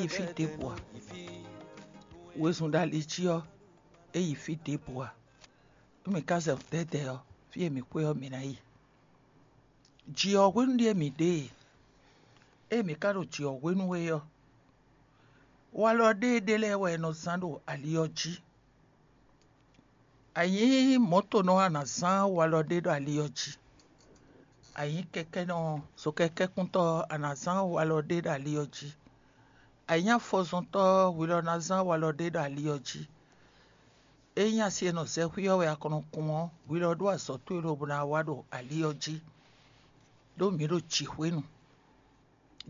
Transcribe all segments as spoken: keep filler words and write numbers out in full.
yi fí ɖěbǔ ǎ. Wezun ɖo ali jí ɔ́, é yi fí ɖěbǔ ǎ. Nú mǐ ka zɛ dɛ̌dɛ̌ ɔ́, fí e mǐ xwe ɔ́, mǐ ná yi. Jǐ ɔ́ hwenu ɖíe mǐ ɖe e. Ée mǐ ka ɖo jǐ ɔ́ hwenu é ɔ́, walɔ ɖéeɖée lɛ́ɛ wɛ è nɔ zán ɖo ali ɔ́ jí. A nyǐ mɔ̌tonɔ ɔ́, a nǎ zán walɔ ɖé ɖo ali ɔ́ jí. A nyǐ kɛkɛ́nɔ, zokɛkɛ́kúntɔ́ ɔ́, a nǎ zán walɔ ɖé ɖo ali ɔ́ jí. A nyǐ afɔzɔntɔ́ ɔ́, hwi lɔ ná zán walɔ ɖé ɖo ali ɔ́ jí. Ényí asi e nɔ zɛ xwí ɔ́ wɛ a kɔn nɔ kun ɔ́, hwi lɔ ɖó azɔ̌ towe lobo ná wá ɖo ali ɔ́ jí, ɖó mǐ ɖo jǐxwénu.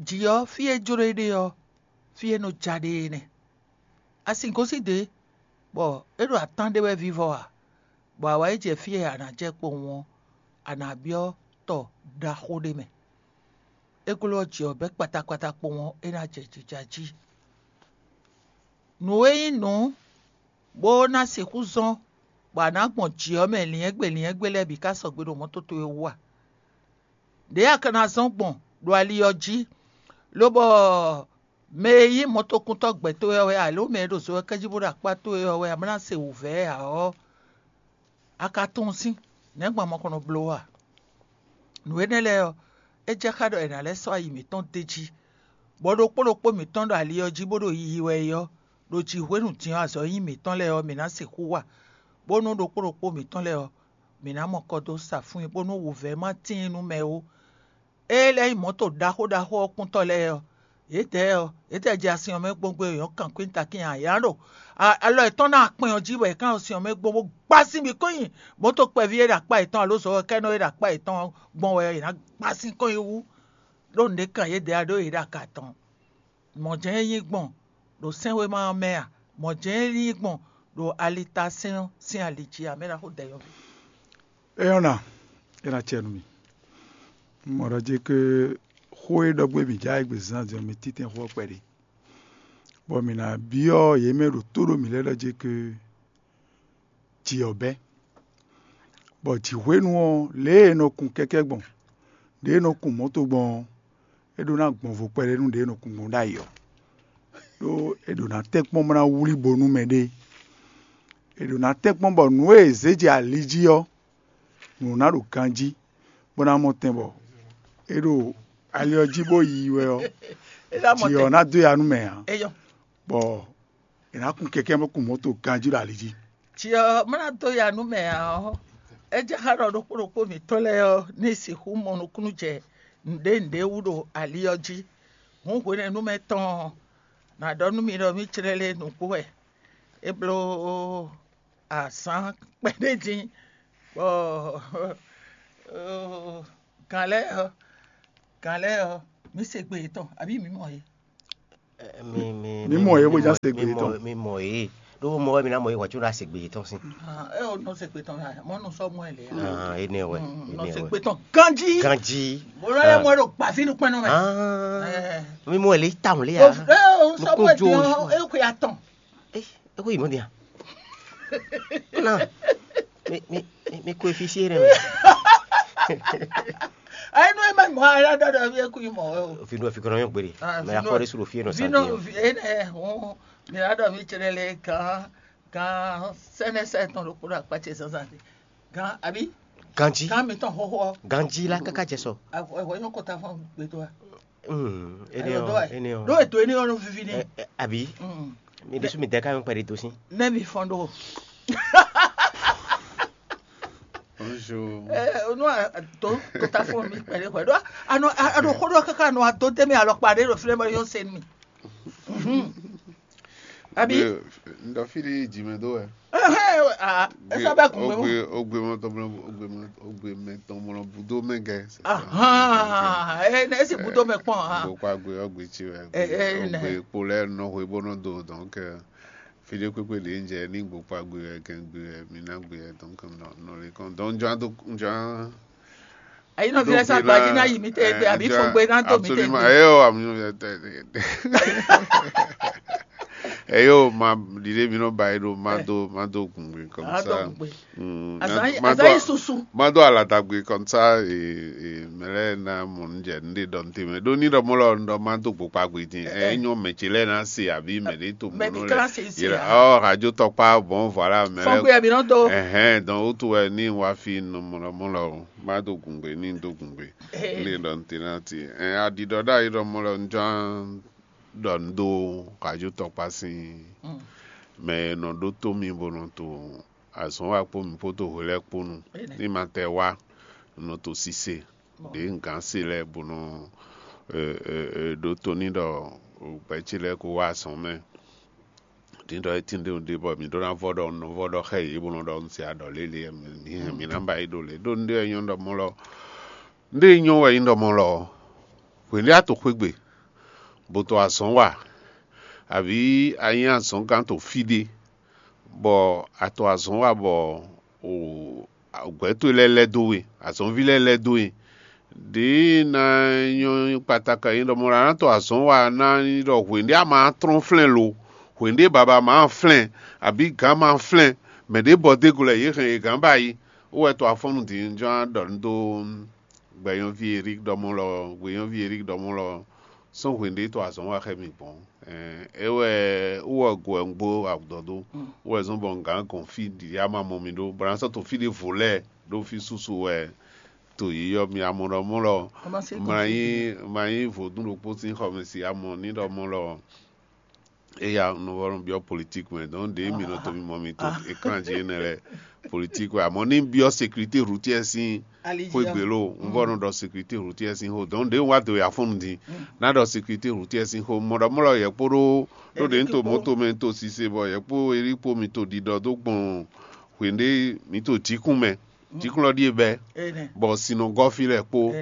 Jǐ ɔ́, fí e jló e ɖe ɔ́, fí e nɔ ja ɖe é nɛ́. A sin gosín dě, bɔ é ɖo atán ɖé wɛ vívɔ́ ǎ, bɔ a wá yi jɛ fí e a nǎ jɛ kpowun ɔ́, a nǎ byɔ́ tɔ ɖaxó ɖé mɛ. É glɔ́ jǐ ɔ́ bɛ́ kpatakpata kpowun ɔ́, é ná jɛ jija jí. Nǔ e nyí nǔ bó ná sixú zɔ́n bɔ a nǎ gbɔn jǐ ɔ́ mɛ lyɛ̌ngbé lyɛ̌ngbé lɛ́ɛ bǐ ká sɔgbe ɖo mɔ̌ towe wú a? Ɖěe a ka ná zɔ́n gbɔn ɖo ali ɔ́ jí, lobɔ mɛ e nyí mɔ̌tokuntɔ́ gbɛ̌ towe ɔ́ wɛ ǎ, lǒ mɛ e ɖo zo ɔ́ kɛ́ jí bó ɖo akpá towe ɔ́ wɛ ǎ, bó ná se wǔvɛ́ ǎ ɔ́, a ka tunwun sín, nɛ̌ gbɔn a ma ko nɔ bló a? Nǔ énɛ́ lɛ́ɛ ɔ́, é jɛ xá ɖɔ è nǎ lɛ́ sɔ́ ayi mǐtɔn d'é jí, bɔ ɖokpó ɖokpó mǐtɔn ɖo ali ɔ́ jí bó ɖo yiyi wɛ é ɔ́, ɖo jǐ hwenu din ɔ́ azɔ̌ e nyí mǐtɔn lɛ́ɛ ɔ́, mǐ ná sixú wa, bónú ɖokpó ɖokpó mǐtɔn lɛ́ɛ ɔ́, mǐ ná mɔ kɔ dó sa fún i, bónú wǔvɛ́ ma tíin nú mɛ ó. Ée lɛ́ nyí mɔ̌to ɖaxó ɖaxó ɔ́ kúntɔ́ lɛ́ɛ ɔ́, yědɛɛ ɔ́, yědɛɛ jɛ asin ɔ́ mɛ gbɔn gbé e nyɔ̌ kankwín takín ǎ; yě ná ɖo alɔ yětɔn ná akpɛn ɔ́ jí bɔ yě ká ɖo sin ɔ́ mɛ gbɔn bó gbá sín bǐ kɔn nyi mɔ̌to kpɛví e ɖo akpá yětɔn alo zɔ̌wɛkɛ́nɔ e ɖo akpá yětɔn ɔ́ gbɔn wɛ ɔ́, yě ná gbá sín kɔn nyi wú, ɖó nǔɖé kan yědɛɛ ǎ ɖó yě ɖo aga tɔn. Mɔ̌ jɛ́n é nyí gbɔn ɖo sɛ́nwéma ɔ́ mɛ a? Mɔ̌ jɛ́n é nyí gbɔn ɖo alitasɛ́n ɔ́ sín ali jí a? Mɛ̌ ná xo dɛ̌yɔ́ví? É nyɔ́ ná, é ná acɛ nú mì. Un mɔ ɖɔ jí ké xó e ɖɔ gbé mǐ já égbé zán din ɔ́, mi títɛn xó ɔ́ kpɛɖé, bɔ mǐ ná byɔ́ yě mɛ e ɖo tó ɖó mǐ lɛ́ɛ ɖɔ jí ké jǐ ɔ́ bɛ́. Bɔ jǐ hwenu ɔ́, lě e è nɔ kun kɛkɛ́ gbɔn, ɖě è nɔ kun mɔ̌to gbɔn ɔ́, é ɖó ná gbɔn vo kpɛɖé nú ɖě è nɔ kun gbɔn ɖ'ayǐ ɔ́. Ɖó è ɖǒ ná tɛ́nkpɔ́n bó ná wlí bo nú mɛɖée. È ɖǒ ná tɛ́nkpɔ́n bɔ nǔ e è zě jɛ ali jí ɔ́, nǔ ná ɖo ganjí, bó ná mɔ tɛn bɔ é ɖo ali ɔ́ jí bó yi wɛ ɔ́, jǐ ɔ́ ná dó ya nú mɛ ǎ, bɔ è nǎ kun kɛkɛ́ bó kun mɔ̌to ganjí ɖo ali jí. Jǐ ɔ́ má ná dó ya nú mɛ ǎ ɔ́, é jɛ xá ɖɔ ɖokpó ɖokpó mǐtɔn lɛ́ɛ ɔ́ ní sixú mɔ nukúnnú jɛ nǔɖé nǔɖé wú ɖo ali ɔ́ jí. Hǔn hwenɛ́nu mɛ tɔn ɔ́, nǎ ɖɔ nú mi ɖɔ mǐ jlɛ́ lé nǔgbó wɛ. É bló azǎn kpɛɖé din, bɔ gǎn lɛ́ɛ ɔ́, gǎn lɛ́ɛ ɔ́, mǐ se gbe yětɔn, abǐ mǐ mɔ yě? Mi mi Mǐ mɔ yě bó já se gbe yětɔn. Mi mɔ yě. Ɖó mɔ wɛ mi ná mɔ yě hwɛ̌ có ná se gbe yětɔn sín. Ah, é o nɔ se gbe tɔn ya, mɔ nɔ sɔ mɔ ɛ lɛ ya. Ah, énɛ́ wɛ. Mm, nɔ énɛ́ se wɛ. Gbe tɔn ganji. Ganji. Bolo ye mɔ ɖo gbavi nu kpɛnɔ mɛ. Ah, Eh. Mi mɔ ɛ lɛ tawun lɛ ya. O eh o sɔ Nukun mɔ ɛ jo diɔ oṣù. E ko ya tɔn. Eh, e ko yi mɔ dia. Na. Mi mi mi ko efisi yɛ mɛ. Ayi nɔ e ma mɔ ara dɔ dɔ fi e ku yi mɔ o. Fi do fi kɔnɔ yɔ gbede. Ah, mɛ fi akɔ do- de su do fi yɛ nɔ Fi sa nɔ fi e nɛ o. Mi la dɔ mi tsɛnɛ le kan kan sɛnɛ sɛ tɔn ɖo kpo ɖo akpa ce zanzan de. Gan abi Ganji. Gan mi tɔn xɔxɔ. Ganji la kaka jɛ sɔ. Awɔ yɔ kɔta fɔ gbedo a. Hmm, ene Ayo o, do ai. Ene o. Do eto ene ɔnu vivi ni. Eh, eh, abi. Mm. Mi de su mi de ka mi kpɛ de do si. Ne mi fɔn do. Bonjour. Eh, no a to kɔta fɔ mi kpɛ de kpɛ do. Ano ano kodo kaka no a to de mi alɔ kpa de do filɛ ma yɔ sen mi. Mhm. Abi. Ndo fili jime do e. Ɛhɛn, ah, esa bɛ kun mɛ mo. Ogbe ogbe mɛ tɔn mlɔ ogbe mɛ ogbe mɛ tɔn mlɔ budo mɛ gɛ. Ahan, eh, ne esi budo mɛ kpɔn ah. Gbokpa gbe ogbe tsi wɛ. Eh, eh, ne. Ogbe kpo lɛ nɔ hwe bó nɔ do donc euh, fide kpekpe ɖe ń jɛ ní gbokpa gbe wɛ gɛn gbe wɛ mi ná gbe wɛ donc nɔ nɔ le kɔn donc njɔ do njɔ. Ayi nɔ fi lɛ sa gbaji na yi mi te gbe abi fɔ gbe na do mi te gbe. Eyo amu eyo ma ɖiɖe mi nɔ ba yi ɖo ma do ma do gun gbe. Comme ça. Mm, azan yi susu. Má dó aladagbé comme ça, mɛ lɛ́ɛ ná mɔ nǔ jɛ nǔɖé ɖɔ nú te mɛ ɖó ní ɖɔ mɔ lɔ un ɖɔ má dó gbokpa gbe din. Ɛ nyɔ mɛ ce lɛ́ɛ ná se àbí mɛ ɖé to mɔ nɔ lɛ. Ɔ radio tɔkpa bon voilà mɛ lɛ́ɛ. Fɔnkpé ɛ mi nɔ dó. Ɛhɛn, donc wotu wɛ ní wá fi nɔ mɔ lɔ mɔ lɔ má dó gungbe ní dó gungbe. Ní ɖɔ nǔ te ná ti. Ɛ aɖiɖɔ ɖ'ayǐ ɖɔ mɔ lɔ un ján ɖɔ un dó radio tɔkpa sín mɛ e nɔ ɖótó mì bó nɔ to azɔ̌n wa kpó mì kpódó hwe lɛ́ɛ kpó nu. Ní ma tɛ wá, un nɔ to sise ɖě un gǎn se lɛ́ɛ bó nɔ ɖótó ní ɖɔ gbɛ̌ ce lɛ́ɛ ko wá azɔ̌n mɛ. Dín ɖɔ é tín ɖé ɖé bɔ mǐ ɖó ná vɔ ɖɔ un nɔ vɔ ɖɔ xá yě bó nɔ ɖɔ un se aɖɔ lě lě mǐ hɛn mǐ ná ba yi ɖo lě ɖó un ɖe wɛ nyɔ́ ɖɔ mɔ lɔ un ɖe nyɔ́ wɛ nyí ɖɔ mɔ lɔ hwě lɛ́ɛ a to xwé gbe bó to azɔ̌n wa abǐ a nyí azɔ̌ngán to fí ɖé bɔ a to azɔ̌n wa bɔ o gbɛ̌ towe lɛ́ɛ lɛ́ dó we, azɔ̌nví lɛ́ɛ lɛ́ dó we. Ɖěe ná nyɔ́ kpataka nyí ɖɔ mɔ ɖɔ a nǎ to azɔ̌n wa ná nyí ɖɔ hwěɖé a ma tlɔ́n flɛ́n lo, hwěɖé baba ma flɛ́n, abǐ gǎn ma flɛ́n, mɛ ɖě bɔ dó go lɛ yě hɛn yě gǎn ba yi, ó wɛ to afɔ́nnu din jɔ́n á ɖɔ nú dó gbɛ̌nyɔ́ví Erík ɖɔ mɔ lɔ, gbɛ̌nyɔ́ví Erík ɖɔ mɔ lɔ, sɔ́ hwěɖé to azɔ̌n wa xá mì gbɔn. É wɛ wú wɛ go wɛ un gbó awǔdɔdó, wú wɛ zɔ́n bɔ un gǎn gɔn fí ɖiɖi ama mɔ mi ɖó, bɔ ná sɔ́ to fí ɖěvo lɛ́ɛ ɖó fí súsú wɛ to yíyɔ mi amɔ ɖɔ mɔ lɔ, ma nyí ma nyí vodún ɖokpó sín xɔmɛsi amɔ ní ɖɔ mɔ lɔ. Eya un nɔ vɔ nɔ byɔ́ politique mɛ, donc ɖě mi nɔ to mi mɔ mi to écran jí énɛ́ lɛ politique wɛ, amɔ ní byɔ́ sécurité routière sín xwé gbe lo, un vɔ nɔ ɖɔ sécurité routière sín xó, donc ɖě un wá do ya fɔ́n din ná ɖɔ sécurité routière sín xó, mɔ ɖɔ mɔ lɔ yɛ kpó ɖó ɖó ɖě un to mɔto mɛ un to sise bɔ yɛ kpó Erík kpó mi to ɖiɖɔ dó gbɔn hwěɖé mi to jǐkún mɛ, jǐkún lɔ ɖíe bɛ́, bɔ sin nɔ gɔ́ fí lɛ́ɛ kpó.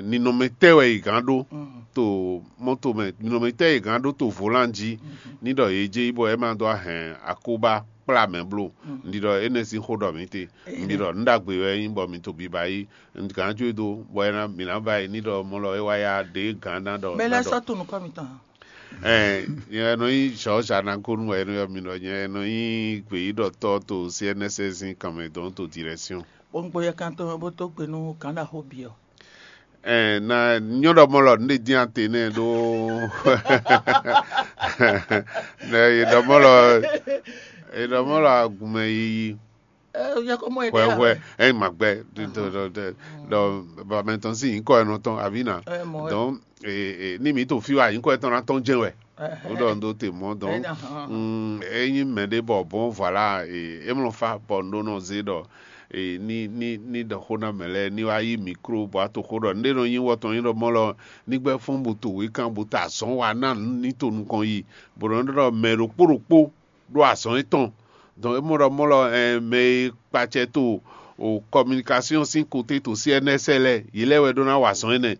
Ninɔmɛtɛ́ wɛ è gǎn ɖó to mɔto mɛ, ninɔmɛtɛ́ è gǎn ɖó to volan jí ní ɖɔ yě jɛ yi bɔ é ma dó ahɛn akóbá kplá mɛ bló. Un ɖi ɖɔ énɛ́ sín xó ɖɔ mǐ te, un ɖi ɖɔ nǔ ɖagbe wɛ é nyí bɔ mi to biba yí. Un gǎn jó e dó bɔ é ná mǐ ná ba yi ní ɖɔ mɔ lɔ é wá yá ɖě gǎn ná ɖɔ. Mɛ lɛ́ɛ sɔ́ to nukɔn mitɔn. Ɛ nyɛ nɔ nyí George Anagonu wɛ nɔ mi nɔ nyɛ nɔ nyí gbeyíɖɔtɔ́ to C N S S kanmɛ dɔn to direction. Bó ń gbóyɛ kántɔn bó tó gbe nú kǎnɖaxó bǐ ɔ́. Ɛ na nyɔ́ ɖɔ mɔ lɔ nɖé dín ate nɛ ɖó nɛ yě ɖɔ mɔ lɔ yě ɖɔ mɔ lɔ agùnmɛ yiyi. Hwɛhwɛ, ɛ ma gbɛ ɖɔ bamɛ tɔn sín nyǐkɔ ɛnɔ tɔn abǐ na. Donc ní mǐ to fí wa nyǐkɔ ɛtɔn ná tɔn jɛ́n wɛ. Wó ɖɔ un ɖó te mɔ̌ donc ényí mɛɖé bɔ bɔn voilà, é mlɔ fá bɔ un ɖó nɔ zé ɖɔ ní ní ní ɖɔ xó ná mɛ lɛ́ɛ ní wá yí mikro bɔ a to xó ɖɔ nɖé nɔ nyí wɔ tɔn nyí ɖɔ mɔ lɔ ní gbɛ́ fɔ́n bo to wěkan bo ta azɔ̌n wa ná ní to nukɔn yi bɔ nɔ ɖɔ mɛ ɖokpó ɖokpó ɖó azɔ̌n étɔn. Donc é mɔ ɖɔ mɔ lɔ mɛ e kpacɛ to o communication sín côté to C N S lɛ yě lɛ́ wɛ ɖó ná wa azɔ̌n énɛ́.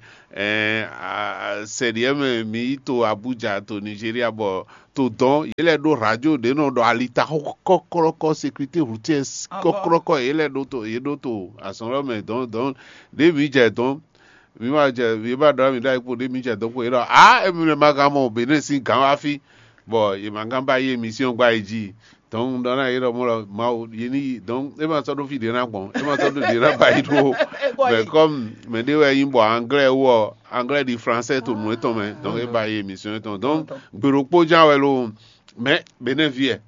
Sɛɖiɛ mɛ mi yi to Abuja to Nigeria bɔ to dɔn yě lɛ́ ɖó radio ɖě nɔ ɖɔ alita kɔkɔlɔkɔ sécurité routière kɔkɔlɔkɔ yě lɛ́ ɖó to yě ɖó to azɔ̌n lɔ mɛ dɔn dɔn ɖě mi jɛ dɔn mi ma jɛ mi ma ɖɔ mi ɖo ayikpo ɖě mi jɛ dɔn kpo yě ɖɔ a emi lɛ ma gán mɔ Benin sín gǎn wá fí bɔ yě ma gán ba yi émission gba yi jí. Donc ɖɔ ná yě ɖɔ mɔ lɔ Mawu yě ní yi donc é ma sɔ́ ɖó fí ɖě ná gbɔn é ma sɔ́ ɖó ɖě ná ba yi ɖó. Mais comme mɛ ɖé wɛ nyí bɔ anglais wɔ anglais ɖi français to nǔ étɔn mɛ donc é ba yi émission étɔn donc gbe ɖokpó ján wɛ lo. Mais Benin ví ɛ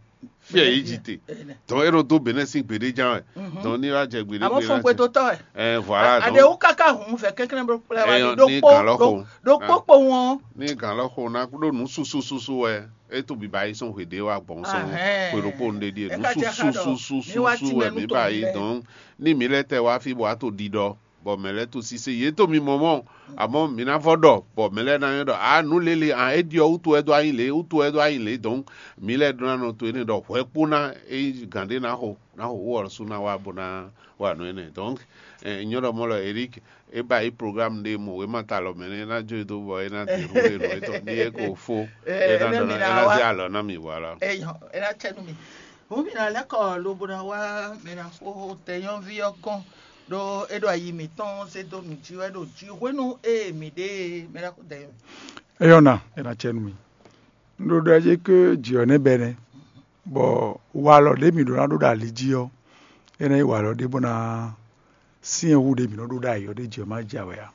fí ɛ yě jí te donc é ɖo dó Benin sín gbeɖé ján wɛ donc ní wá jɛ gbeɖé gbeɖé ná jɛ ɛ voilà donc aɖewo kaka hun vɛ kɛnklɛn blo kplɛ wa ɛyɔ ní ɖokpó gàn lɔ xo ɖokpó kpo wọn ní gàn lɔ xo ná ɖó nǔ susu susu wɛ é tó biba yi sɔn hweɖé wa gbɔn sɔn hwe ɖokpó nu ɖe ɖie nǔ susu susu susu wɛ mi ba yi donc ní mi lɛ tɛ wá fi bɔ a tó ɖiɖɔ bɔ mɛ lɛ to sise yě to mi mɔ mɔ amɔ mi ná vɔ ɖɔ bɔ mɛ lɛ ná nyɔ ɖɔ a nǔ lélẹ̀ a é ɖiɔ wútu wɛ dó anyi lě wútu wɛ dó anyi lě donc mi lɛ ɖó ná nɔ to énɛ́ ɖɔ hwɛ kpó ná é gǎn ɖé ná xo ná xo wú ɔlɔsú ná wá bó ná wa nǔ énɛ́ donc nyɔ ɖɔ mɔ lɔ Eric é ba yi programme ɖé mɔ wěma ta lɔ mɛ nɛ é ná jó e dó bɔ é ná dé hu é nɔ étɔn ní é ko fó é ná dɔn é ná zé alɔ ná mi voilà. Eyɔ é ná tsɛ nú mi. Hǔn mǐ ná lɛ́ kɔ lobo ná wá mɛ ná xó tɛnyɔ́ví ɔ́ gɔ́n ɖó é ɖo ayi mǐtɔn zé dó nǔ jí wɛ ɖo jí hwenu ée mǐ ɖe mɛ ná xó dɛyɔ. Eyɔ́ ná é ná tsɛ nú mi. Un ɖo ɖɔ jí ké jǐ ɔ́ nɛ́ bɛ́ nɛ́. Bɔ walɔ ɖě mǐ ɖó ná ɖó ɖo ali jí ɔ́, é ná nyí walɔ ɖé bó ná syɛ́n hú ɖě mǐ nɔ ɖó ɖo ayǐ ɔ́ ɖ'é jí ɔ́ má jɛ awɛ ǎ.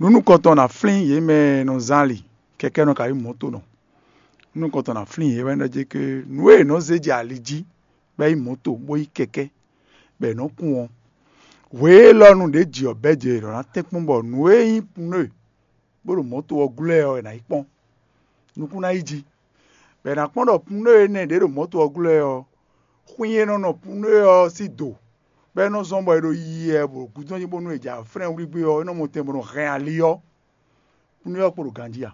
Nǔ nukɔntɔn ná flín yě mɛ e nɔ zán ali kɛkɛ́nɔ kabi mɔ̌tonɔ. Nǔ nukɔntɔn ná flín yě wɛ ɖɔ jɛ ké nǔ e è nɔ zé jɛ ali jí bɔ é nyí mɔ̌to bó nyí kɛkɛ́ bɔ è nɔ kún ɔ́, hwe élɔ́ nu ɖě jǐ ɔ́ bɛ́ jɛ è nɔ ná tɛ́nkpɔ́n bɔ nǔ e nyí pneu bó ɖo mɔ̌to ɔ́ glɔ́ ɛ ɔ́, è nǎ yi kpɔ́n. Nukún ná yi jí, bɔ è nǎ kpɔ́n ɖɔ pneu énɛ́ ɖě ɖo mɔ̌to ɔ́ glɔ́ ɛ ɔ́, xwín e nɔ nɔ pneu ɔ́ sín do, bɔ é nɔ zɔ́n bɔ è ɖo yiyi ɛ bɔ gǔdo ɔ́ nyí bónú è jɛ aflɛ́n wlígbé ɔ́, é nɔ mɔ tɛn bó nɔ hɛn ali ɔ́, pneu ɔ́ kpo ɖo ganjí ǎ.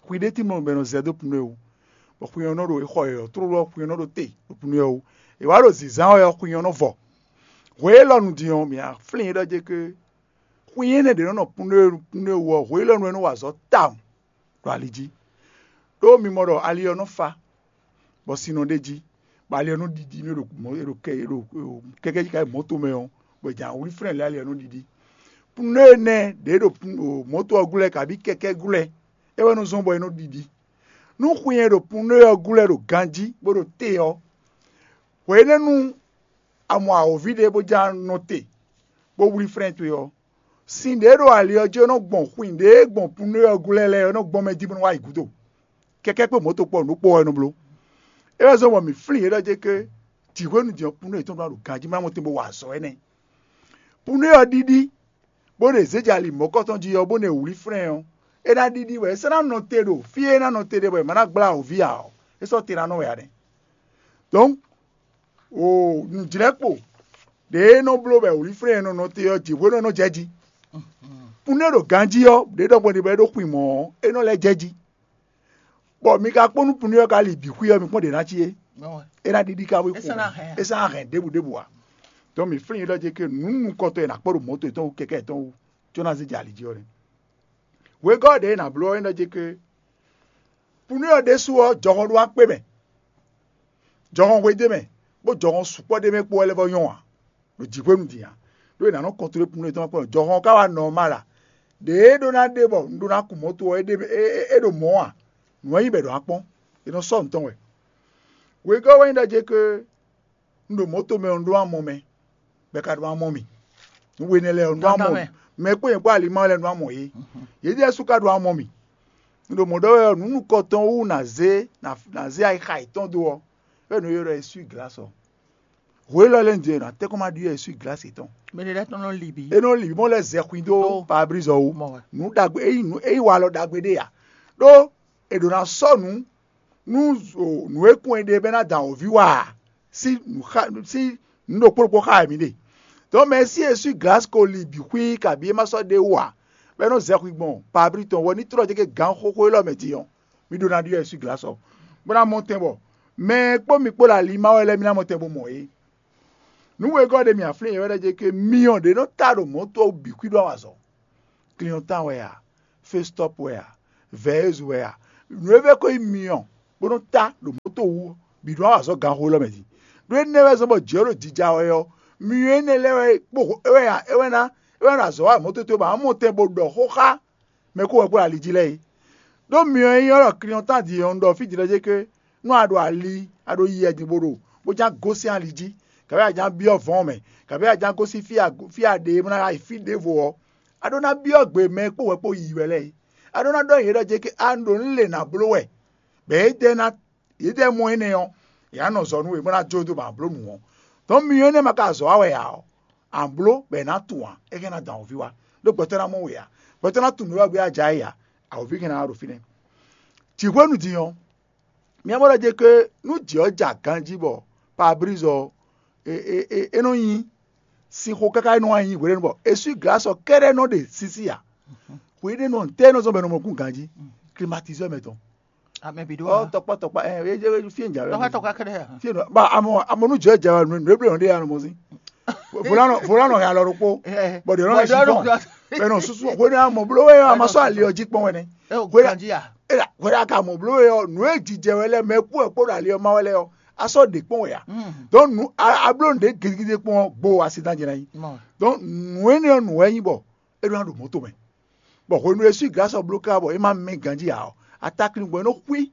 Xwi ɖé tímɔ bɔ è nɔ zɛ dó pneu ɔ́ wú, bɔ xwi ɔ́ nɔ ɖo è xɔ yɔ̌yɔ́ tlóló ɔ́, xwi ɔ́ nɔ ɖo te ɖo pneu ɔ́ wú. È wǎ ɖo zǐnzán wɛ ɔ́, xwi ɔ́ nɔ vɔ. Hwe élɔ́ nu din ɔ́, mǐ ná flín é ɖɔ jɛ ké xwín énɛ́ ɖě nɔ nɔ pneu wú ɔ́, hwe élɔ́ nu é nɔ wa azɔ̌ tawun ɖo ali jí. Ɖó mi mɔ ɖɔ ali ɔ́ nɔ fa, bɔ sin nɔ ɖ'é jí, bɔ ali ɔ́ nɔ ɖiɖi nú è ɖo mɔ̌- è ɖo kɛ- è ɖo kɛkɛ́ jí ka yi mɔ̌to mɛ ɔ́, bɔ è jǎ wlí flɛ́n lě ali ɔ́ nɔ ɖiɖi. Pneu énɛ́ ɖě ɖo pn- o, mɔ̌to ɔ́ glɔ́ kabi kɛkɛ́ glɔ́, é wɛ nɔ zɔ́n bɔ é nɔ ɖiɖi. Nú xwin e ɖo pneu ɔ́ glɔ́ ɖo ganjí bó ɖo te ɔ́, hwenɛ́nu a mɔ awǒvi ɖé bó ján nɔ te, bó wlí flɛ́n towe ɔ́, sin ɖě ɖo ali ɔ́ jí ɔ́ nɔ gbɔn xwin ɖě gbɔn pneu ɔ́ glɔ́ lɛ́ɛ ɔ́ nɔ gbɔn mɛ jí bó nɔ wá yi gǔdo. Kɛkɛ́ kpé mɔ̌to kpɔ́ nǔ kpó ɔ́ é nɔ bló. É wɛ zɔ́n bɔ mǐ flín yě ɖɔ jɛ ké jǐ hwenu din ɔ́ pneu yětɔn ɖo ɖo ganjí má mɔ tɛn bó wa azɔ̌ énɛ́. Pneu ɔ́ ɖiɖi, bó ɖe zějali mɔ̌kɔtɔn jí ɔ́, bó ɖe wlí flɛ́n ɔ́, é ná ɖiɖi wɛ é sɔ́ ná nɔ te ɖo fí e é ná nɔ te ɖe bɔ è ma ná gblá awǒvi ǎ ɔ́, é sɔ́ te ná nɔ wɛ ǎ nɛ́. Dɔ̌n, o nǔjlɛ́kpo ɖě e nɔ bló bɔ wlí flɛ́n e nɔ nɔ te ɔ́, jǐ hwenu e nɔ jɛ jí. Pneu ɖo ganjí ɔ́, ɖě ɖɔhun ɖi bɔ é ɖó xwin mɔ̌ ɔ́, é nɔ lɛ́ jɛ jí. Bɔ mi ka kpɔ́n nú pneu ɔ́ ka li bǐ xwí ɔ́, mi kpɔ́n ɖě ná cí é. É ná ɖiɖi ka wé É sɔ́ ná hɛn ǎ. É sɔ́ ná hɛn ɖěbǔ ɖěbǔ ǎ. Dɔn mǐ flín yě ɖɔ jɛ ké nǔ nukɔntɔn e nǎ kpɔ́ ɖo mɔ̌to yětɔn wú kɛkɛ́ yětɔn wú, có ná zé jɛ ali jí ɔ́ nɛ́. Wegɔ́ ɖě e nǎ bló ɔ́ é ɖɔ jɛ ké pneu ɔ́ ɖésú ɔ́, jɔhɔn ɖó akpé mɛ, jɔhɔn hwe d'é mɛ, bó jɔhɔn sukpɔ́ d'é mɛ kpó wɛ lɛ́ vɔ́ nyɔ́ ǎ, ɖo jǐxwénu din ǎ. Ɖó è nǎ nɔ kɔntlóle pneu tɔn kpɔ́n jɔhɔn ɔ́ ka wá nɔ ɔ́ ma ɖa. Ɖě é ɖó ná ɖe bɔ un ɖó ná kun mɔ̌to ɔ́, é ɖe é- é- é ɖo mɔ̌ ǎ. Nǔ ɔ́ nyí bɔ è ɖǒ ná kpɔ́n, è nɔ sɔ́ nǔ tɔn wɛ. Wegɔ́ wɛ nyí ɖɔ jɛ ké un ɖo mɔ̌to mɛ ɔ́, un ɖó amɔ mɛ, bɔ è ka ɖó amɔ mì. Nǔ we énɛ́ lɛ́ɛ ɔ́, un ɖó amɔ mì. Mɛ kpó nyɛ kpó alimá lɛ́ɛ un ɖó amɔ yě. Yědɛɛ sú ka ɖó amɔ mì. Un ɖo mɔ̌ ɖɔ wɛ ɔ́, nǔ nukɔntɔn wú nǎ zé nǎ- nǎ zé ayixa yětɔn dó ɔ́, wɛ nǔ e ylɔ́ ɖɔ eswí glǎs ɔ́. Hwe élɔ́ lɛ́ɛ un jɛ nǎ tɛ́nkpɔ́n má ɖyɔ́ eswí glǎs yětɔn. Mɛ ɖé lɛ́ɛ tɔn nɔ li bǐ. É nɔ li bǐ mɔ lɛ́ɛ zɛ xwin dó Dó. Pabrízɔ wú. Mɔ wɛ. Nǔ ɖagbe é nyí nǔ é nyí walɔ ɖagbe ɖé ǎ. Ɖó è ɖǒ ná sɔ́ nǔ nú o, nǔ e kún è ɖe bɔ é ná da awǒvi wá ǎ, sín nǔ xa sín nǔ ɖokpó ɖokpó xá wɛ mǐ ɖe. Dɔ̌n mɛ e sí eswí glǎs ko li bǐ xwí kabǐ é ma sɔ́ ɖe wú ǎ, bɔ é nɔ zɛ xwi gbɔn pabrí tɔn wɔ ní tlɔ́ jɛ gǎn xóxó élɔ́ mɛ din ɔ́, mi ɖó ná ɖyɔ́ eswí glǎs ɔ́, bó ná mɔ tɛn bɔ mɛ e kpó mi kpó ɖo ali má wɛ lɛ́ɛ mi ná mɔ tɛn bó mɔ é. Nǔ wegɔ́ ɖé mi aflín yě wɛ ɖɔ jɛ ké myɔ ɖě nɔ ta ɖo mɔ̌to ɔ́ bǐ xwí ɖó awazɔ̌. Kliɔntan wɛ a, Festɔ́p wɛ a, Vɛ̌yézu wɛ a, nǔ e vɛ́ ko nyí myɔ bó nɔ́ ta ɖo mɔ̌to wú ɔ́, bǐ ɖó awǎ zɔ́ ganxó élɔ́ mɛ din. Ɖó énɛ́ wɛ zɔ́n bɔ jǐ ɔ́ ɖo jija wɛ ɔ́, myɔ énɛ́ lɛ́ɛ wɛ kpó é wɛ a é wɛ ná é wɛ ná azɔ̌ wa mɔ̌ tótó bɔ amɔ́ tɛn bó ɖɔ xó xá mɛ e kó wɛ kpó ali jí lɛ́ɛ é. Ɖó myɔ e nyí ɔ́ ɖɔ kliɔntan din ɔ́, un ɖɔ fí din lɔ jɛ ké nú a ɖo ali, a ɖo yi wɛ din bó ɖo bó ján gosín ali jí, kabǐ a ján byɔ́ vɔ̌ɔn mɛ, kabǐ a ján gosín fí a fí a ɖe e bó ná yi fí ɖěvo ɔ́, a ɖó ná byɔ́ gbe mɛ e kpó wɛ kpó yiyi wɛ lɛ́ɛ é. A ɖó ná ɖɔ nyi yě ɖɔ jɛ ké a un ɖo nǔ lě nǎ bló wɛ, bɔ yědɛɛ ná yědɛɛ mɔ énɛ́ ɔ́, yě ná nɔ zɔ nú we bó ná jó dó bɔ a blǒ nǔ ɔ́. Dɔ̌n myɔ énɛ́ ma ka azɔ̌ wa wɛ ǎ ɔ́, a blǒ bɔ è nǎ tunwun ǎ, é hɛn ná dɔn awǒvi wá. Ɖó gbɛtɔ́ ná mɔ we ǎ, gbɛtɔ́ ná tunwun nǔ e wɛ gbé a ja é ǎ, awǒvi hɛn ná wá ɖo fínɛ́. Jǐ hwenu din ɔ́, mi ɔ́ mɔ ɖɔ jɛ ké nú jǐ ɔ́ ja ganjí bɔ Pabrízɔ ɔ́, é é é é nɔ nyi sinxo káká é nɔ wá nyi hweɖénu bɔ eswí glǎs ɔ́ kɛ́ɖɛ́ nɔ ɖe sísí ǎ. Hweɖénu ɔ́, ntɛ́ é nɔ zɔ́n bɔ è nɔ mɔ kún ganjí? Climatiseur mɛ tɔn. Amɛ bǐ ɖó ɔ wa. Tɔkpɔ tɔkpɔ ɛ ɛ ɛ fi e jà Tɔkpɔ tɔkpɔ kɛɖɛ. Fi e nɔ ba amɔ amɔ nu jɔ jà wa nu nu eble nɔ de ya nɔ mɔ si. Volanɔ volanɔ ya lɔ ɖokpo. Bɔ de nɔ si kɔn. Bɛ nɔ susu ko ne amɔ blo we amɔ sɔ ali ɔji kpɔn wɛ nɛ. Ɛ o Hwɛ- ganji ya. Ela hwɛ aka mɔ blo we ɔ nu e jijɛ wɛ lɛ mɛ kú ɛ kpó ɖo ali ɔma wɛ lɛ ɔ asɔ de kpɔn wɛ ya. Donc nu a a blo nu de gidigidi kpɔn gbo asi dan jɛ na yi. Donc nu ene ɔ nu wɛ nyi bɔ e ɖo na ɖo mɔto mɛ. Bɔ hwenu e su glasɔ blo ka bɔ e ma mɛ ganji ya ɔ atakli gbɔ e nɔ xwi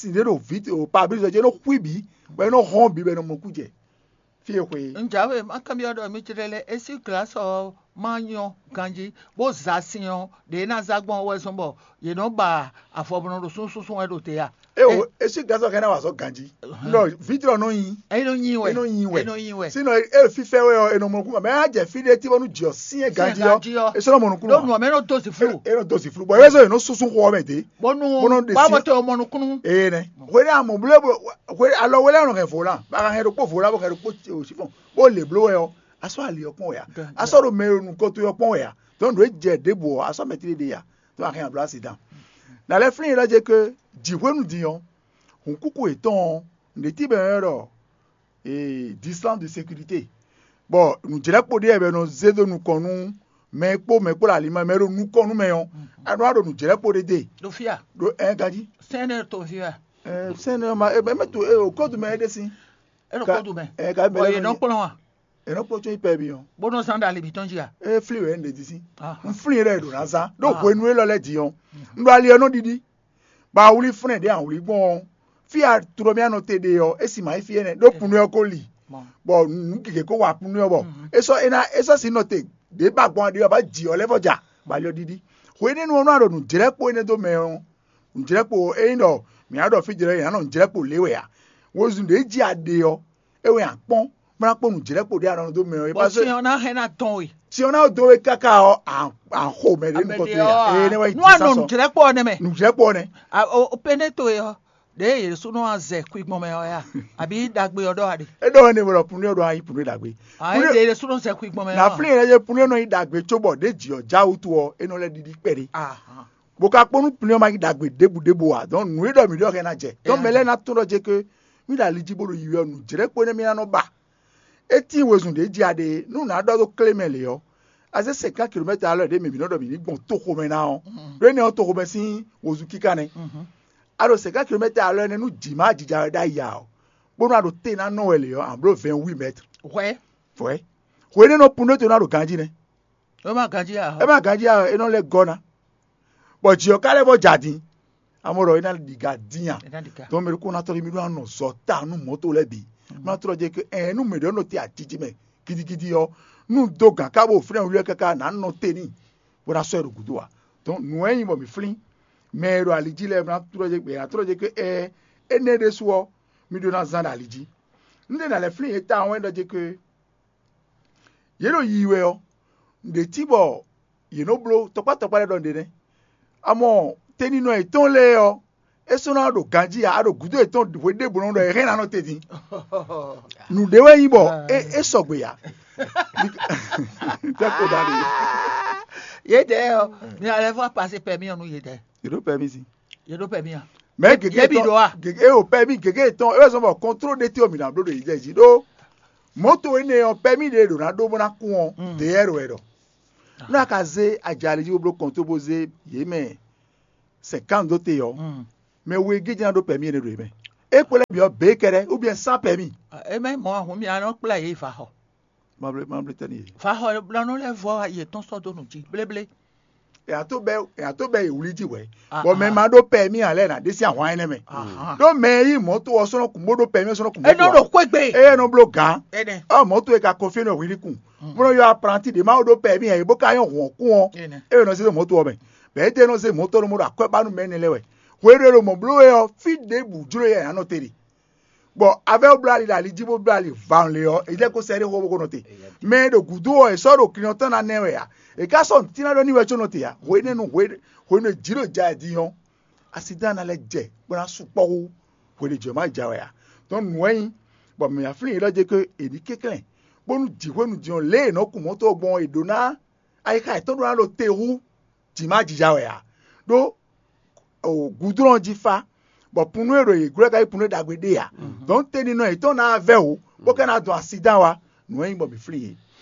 sin ɖé ɖo vǐ o pabrízɔ jí, é nɔ xwí bǐ, bɔ é nɔ hɔn bǐ, bɔ é nɔ mɔ kú jɛ fí e xwe é. Un jǎwe má kanbyɔ́ ɖɔ mi jlɛ́ lɛ́ é sí glǎsɔ má nyɔ́ ganjí, bó za sin ɔ́, ɖě é ná zá gbɔn ɔ́ wɛ zɔ́n bɔ yě nɔ ba avɔ bó nɔ ɖo súnsúnsún wɛ ɖo te a? É o, é sí glǎsɔ hɛn ná wa azɔ̌ ganjí. Nɔ vǐtrɔ nɔ nyi. É nɔ nyi wɛ. É nɔ nyi wɛ. É nɔ nyi wɛ. Sinɔ é fífɛ wɛ ɔ́, é nɔ mɔ nukún, mɛ á jɛ fí ɖé tí bɔ nú jǐɔ sín é ganjí ɔ́, é sɔ́ nɔ mɔ nukún. Ɖó nǔ ɔ́ mɛ nɔ dó zi flú. É nɔ dó zi flú. Bɔ é sɔ́ é nɔ súnsún xɔ ɔ́ mɛ dě. Bónú Bónú ɖe bá sin- bɔ te ɔ́ mɔ nukúnnú. Ee nɛ. Hwe ɖé amɔ bló hwe alɔ hwe lɛ́ɛ nɔ hɛn volan, bɔ a ka hɛn ɖokpó volan bɔ hɛn ɖokpó sífɔn, bó lě bló wɛ ɔ́, a sɔ́ ali ɔ́ kpɔ́n wɛ a? A sɔ́ ɖo mɛ e ɖo nukɔn towe ɔ́ kpɔ́n wɛ a? Dɔn nǔ e jɛ ɖěbǔ ɔ́, a sɔ́ mɛ tlí ɖe a? Dɔn a hɛn abló asi dan. Na lɛ́ flín yě ɖɔ jɛ ke jǐ hwenu din ɔ́, hǔnkúkú yětɔn ɔ́, nǔɖé tí bɛn ɔ́ ɖɔ ee distance de sécurité, bɔ nǔjlɛ́kpo ɖé wɛ bɔ è nɔ zé dó nukɔn nú mɛ e kpó mɛ e kpó ɖo ali mɛ mɛ e ɖo nukɔn nú mɛ ɔ́, a nɔ wá ɖo nǔjlɛ́kpo ɖé dó e. Ɖo fí a? Ɖo ɛn ganjí. Sɛn ne to fí a? Ɛɛ, sɛn ne ma e mɛ to e o kódu mɛ e ɖe sín. E ɖo kódu mɛ. Ɛɛ, ka Bɔ yě nɔ kplɔ́n a? E nɔ kpɔ́n tsɔ́ yi pɛ bi ɔ́. Bó nɔ zán ɖo ali mǐtɔn jí a? E flí wɛ ɖe di sín. N flí yɛ ɖo ná zán ɖó hwenu élɔ́ lɛ́ɛ din ɔ́, un ɖo ali ɔ́ nɔ ɖiɖi. Bɔ a wlí flɛ́n ɖě a wlí gbɔn ɔ́, fí e a tló mì anɔ te ɖe ɔ́, é sin ma nyí fí énɛ́, ɖó kunu ɔ́ ko li, bɔ nǔ gěgé ko wa kunu ɔ́, bɔ é sɔ́ é ná é sɔ́ sin nɔ te ɖě ba gbɔn aɖe ɔ́, bɔ jǐ ɔ́ lɛ́ vɔ ja, bɔ ali ɔ́ ɖiɖi. Hwenɛ́nu ɔ́ nú a ɖo nǔjlɛ́kpo énɛ́ dó mɛ ɔ́, nǔjlɛ́kpo ényí ɖɔ mǐ á ɖɔ fí jlɛ́ é ná nɔ nǔjlɛ́kpo lě wɛ ǎ. Wezun ɖě jí a ɖe ɔ́, é wɛ a kpɔ́n, bó ná kpɔ́n nǔjlɛ́kpo ɖé a nɔ dó mɛ ɔ́. Bɔ sin ɔ́ ná hɛn ná tɔn we. Sin ɔ́ ná dó we káká ɔ́, a xo mɛ ɖé nukɔn towe ǎ. Ee, ne wá yi nú a nɔ nǔjlɛ́kpo ɔ́ nɛ́ mɛ. Nǔjlɛ́kpo ɔ́ nɛ́. Péné towe ɔ́, ɖěe Yěsu nɔ wá zɛ kwi gbɔn mɛ ɔ́ ya, àbí ɖagbe ɔ́ ɖɔ a ɖe? É ɖɔ wɛ ne wɔ ɖɔ Punu ɔ́ ɖɔ a nyí Punu ɖagbe. Ǎ é ɖe Yěsu nɔ zɛ kwi gbɔn mɛ ɔ́. Naflín e lɛ́ yé Punu ɔ́ nɔ nyí ɖagbe cóbɔ ɖě jǐ ɔ́ já wútu ɔ́, é nɔ lɛ́ ɖiɖi kpɛɖé. Bó ka kpɔ́n nú Punu ɔ́ ma nyí ɖagbe ɖěbǔ ɖěbǔ ǎ, dɔn nǔ e ɖɔ mǐ ɖɔ hɛn ná jɛ. Tɔn mɛ lɛ́ɛ ná tunwun ɖɔ jɛ ké mí ɖo ali jí bó ɖo yiyi ɔ́, nǔjlɛ́kpo énɛ́ mí ná nɔ ba. É tíin wezun ɖě jí a ɖe é, nú nǎ ɖɔ dó klé mɛ lě ɔ́, a zé sɛnkánkilomɛ́tɛ alɔ ɖě mɛ mǐ nɔ ɖɔ mǐ ní gbɔn toxomɛ ná ɔ́, ɖó énɛ́ ɔ́ toxomɛ sín wozun kíká nɛ́. A ɖo sɛnkánkilomɛ́tɛ alɔ énɛ́ nú jǐ má jija wɛ ɖ'ayǐ ǎ ɔ́, bónú a ɖo te ná nɔ wɛ lě ɔ́, a nǎ bló vɛ̌ɛn wí mɛ́tr. Hwɛ̌. Hwɛ̌. Hwe énɛ́ nɔ pun ɖó te ná ɖo ganjí nɛ́. É má ganjí ǎ. É má ganjí ǎ, é nɔ lɛ́ gɔ́ ná. Bɔ jǐ ɔ́ ka lɛ́ vɔ jɛ adin. Amɔ ɖɔ é ná ɖiga dín a? Dɔn mɛ ɖokpó ná tɔ́ ɖi mì ɖó anɔ zɔ ta nú mɔ̌to lɛ́ɛ bǐ. Má tlɔ́ jɛ ke ɛn nú mɛ ɖě nɔ te ajiji mɛ gidigidi ɔ́, nú dó gǎn ká bó fínɛ́ wlí káká nǎ nɔ te n'i, bó ná sɔ́ ɛ ɖo gǔdo ǎ. Dɔn nǔ e nyí bɔ mǐ flín mɛ e ɖo ali jí lɛ́ɛ ná tlɔ́ jɛ gbɛ ná tlɔ́ jɛ ke ɛɛ énɛ́ ɖésú ɔ́, mì ɖó ná zán ɖo ali jí. Un ɖe ná lɛ́ flín yě tawun wɛ ɖɔ jɛ ke yě ɖo yiyi wɛ ɔ́, nǔɖé cí bɔ yě nɔ bló tɔkpá tɔkpá lɛ́ɛ ɖɔ nǔɖé nɛ́. Amɔ teninɔ yětɔn lɛ́ɛ ɔ́, é sɔ́ ná ɖo ganjí ǎ, a ɖo gǔdo yětɔn hwe ɖěbǔ nɔ ɖɔ è hɛn ná nɔ te din. Nǔɖé wɛ nyí bɔ é é sɔgbe ǎ. Tɛ́ ko ɖa ɖe. Yědɛɛ ɔ́, mi alɛ fɔ pase pɛ mi ɔ́ nú yědɛɛ. Yě ɖó pɛmí si. Yě ɖó pɛmí a? Mɛ gěgé Yě bi ɖó a? Gěgé o pɛmí gěgé tɔn é wɛ zɔn bɔ kɔntró ɖé tí o mǐ ná bló ɖo yíjɛ jí ɖó mɔ̌to énɛ́ ɔ́ pɛmí ɖě ɖo ná ɖó bó ná kún ɔ́, Mm. Deyɛ́ɛ wɛ ɖɔ. Nú a ka zé ajali jí bó bló kɔntró bó zé yě mɛ sɛnkánu dó te ɔ́, Mm. Mɛ we gěgé ná ɖó pɛmí énɛ́ ɖo yě mɛ. É kpo lɛ́ bǐ ɔ́ bě kɛɖɛ́ ou bien sans pɛmí. Eme mɔ ahun mi anɔ kplá yě va xɔ. Mablé mablé tɛ́ n'i. Va xɔ blanú lɛ́ɛ vɔ yětɔn sɔ́ dó nǔ jí bléblé. È nǎ tó bɛ́ è nǎ tó bɛ́ yě wlí jí hwɛ̌. Ah, Bɔ mɛ ah. Ma ɖó pɛmí ǎ lɛ́ɛ nǎ ɖe sín ahwan énɛ́ mɛ. Ahán. Ɖó mɛ e yí mɔ̌to ɔ́ sɔ́ nɔ kún bó ɖó pɛmí ɔ́ sɔ́ nɔ kún bó Enɔ ɖo. Ɖo xwégbe. Eye nɔ bló gǎn. Ɛnɛ. Ɔ mɔ̌to e ka kɔn fí nɔ hwilí kun. Bó nɔ yɔ apranti ɖě ma ɖó pɛmí ǎ é bó ka nyɔ́ hwɔ̌n kún ɔ́. Ɛnɛ. Eye nɔ zé ɖo mɔ̌to ɔ́ mɛ. Bɛ̌ é ɖe nɔ zé mɔ̌to nɔ mɔ ɖo akwɛ́ ba nú mɛ énɛ́ lɛ́ɛ wɛ. Hwe ɖé ɖo mɔ̌ bló wɛ ɔ́, fí ɖěbǔ jló yɛ è nǎ nɔ te ɖe. Bɔ avɛ́ bló ali ɖo ali jí bó bló ali van lě ɔ́, è lɛ́ ko sɛ ɖé xó bó ko nɔ te. Mɛ e ɖo gǔdo ɔ́, è sɔ́ ɖo klin ɔ́ tɔn ná nɛ́ wɛ ǎ. È ka sɔ́ nǔtínná ɖɔ n'i wɛ có nɔ te ǎ. Hwenɛ́nu hwe hwenu e jǐ ɖo ja ɛ din ɔ́, asidán ná lɛ́ jɛ bó ná sukpɔ́ hú hwenu e jǐ ɔ́ ma ja wɛ ǎ. Dɔn nǔ wɛ nyí bɔ mǐ ná flín yě ɖɔ jɛ ko è ní kɛnklɛ́n, bónú jǐ hwenu din ɔ́ lě e è nɔ kun mɔ̌to ɔ́ gbɔn ɔ́, è ɖǒ ná ayixa yětɔn ɖó ná ɖo te hú jǐ ma jija wɛ ǎ. Ɖó gudlɔ́n jí fá, bɔ punnu e ɖo yě glɔ́ ka nyí punnu e ɖagbe ɖé ǎ. Dɔn teninɔ yětɔn ná vɛ́ wǒ, bó ka ná dɔn asidán wá, nǔ e nyí bɔ mǐ flín yě.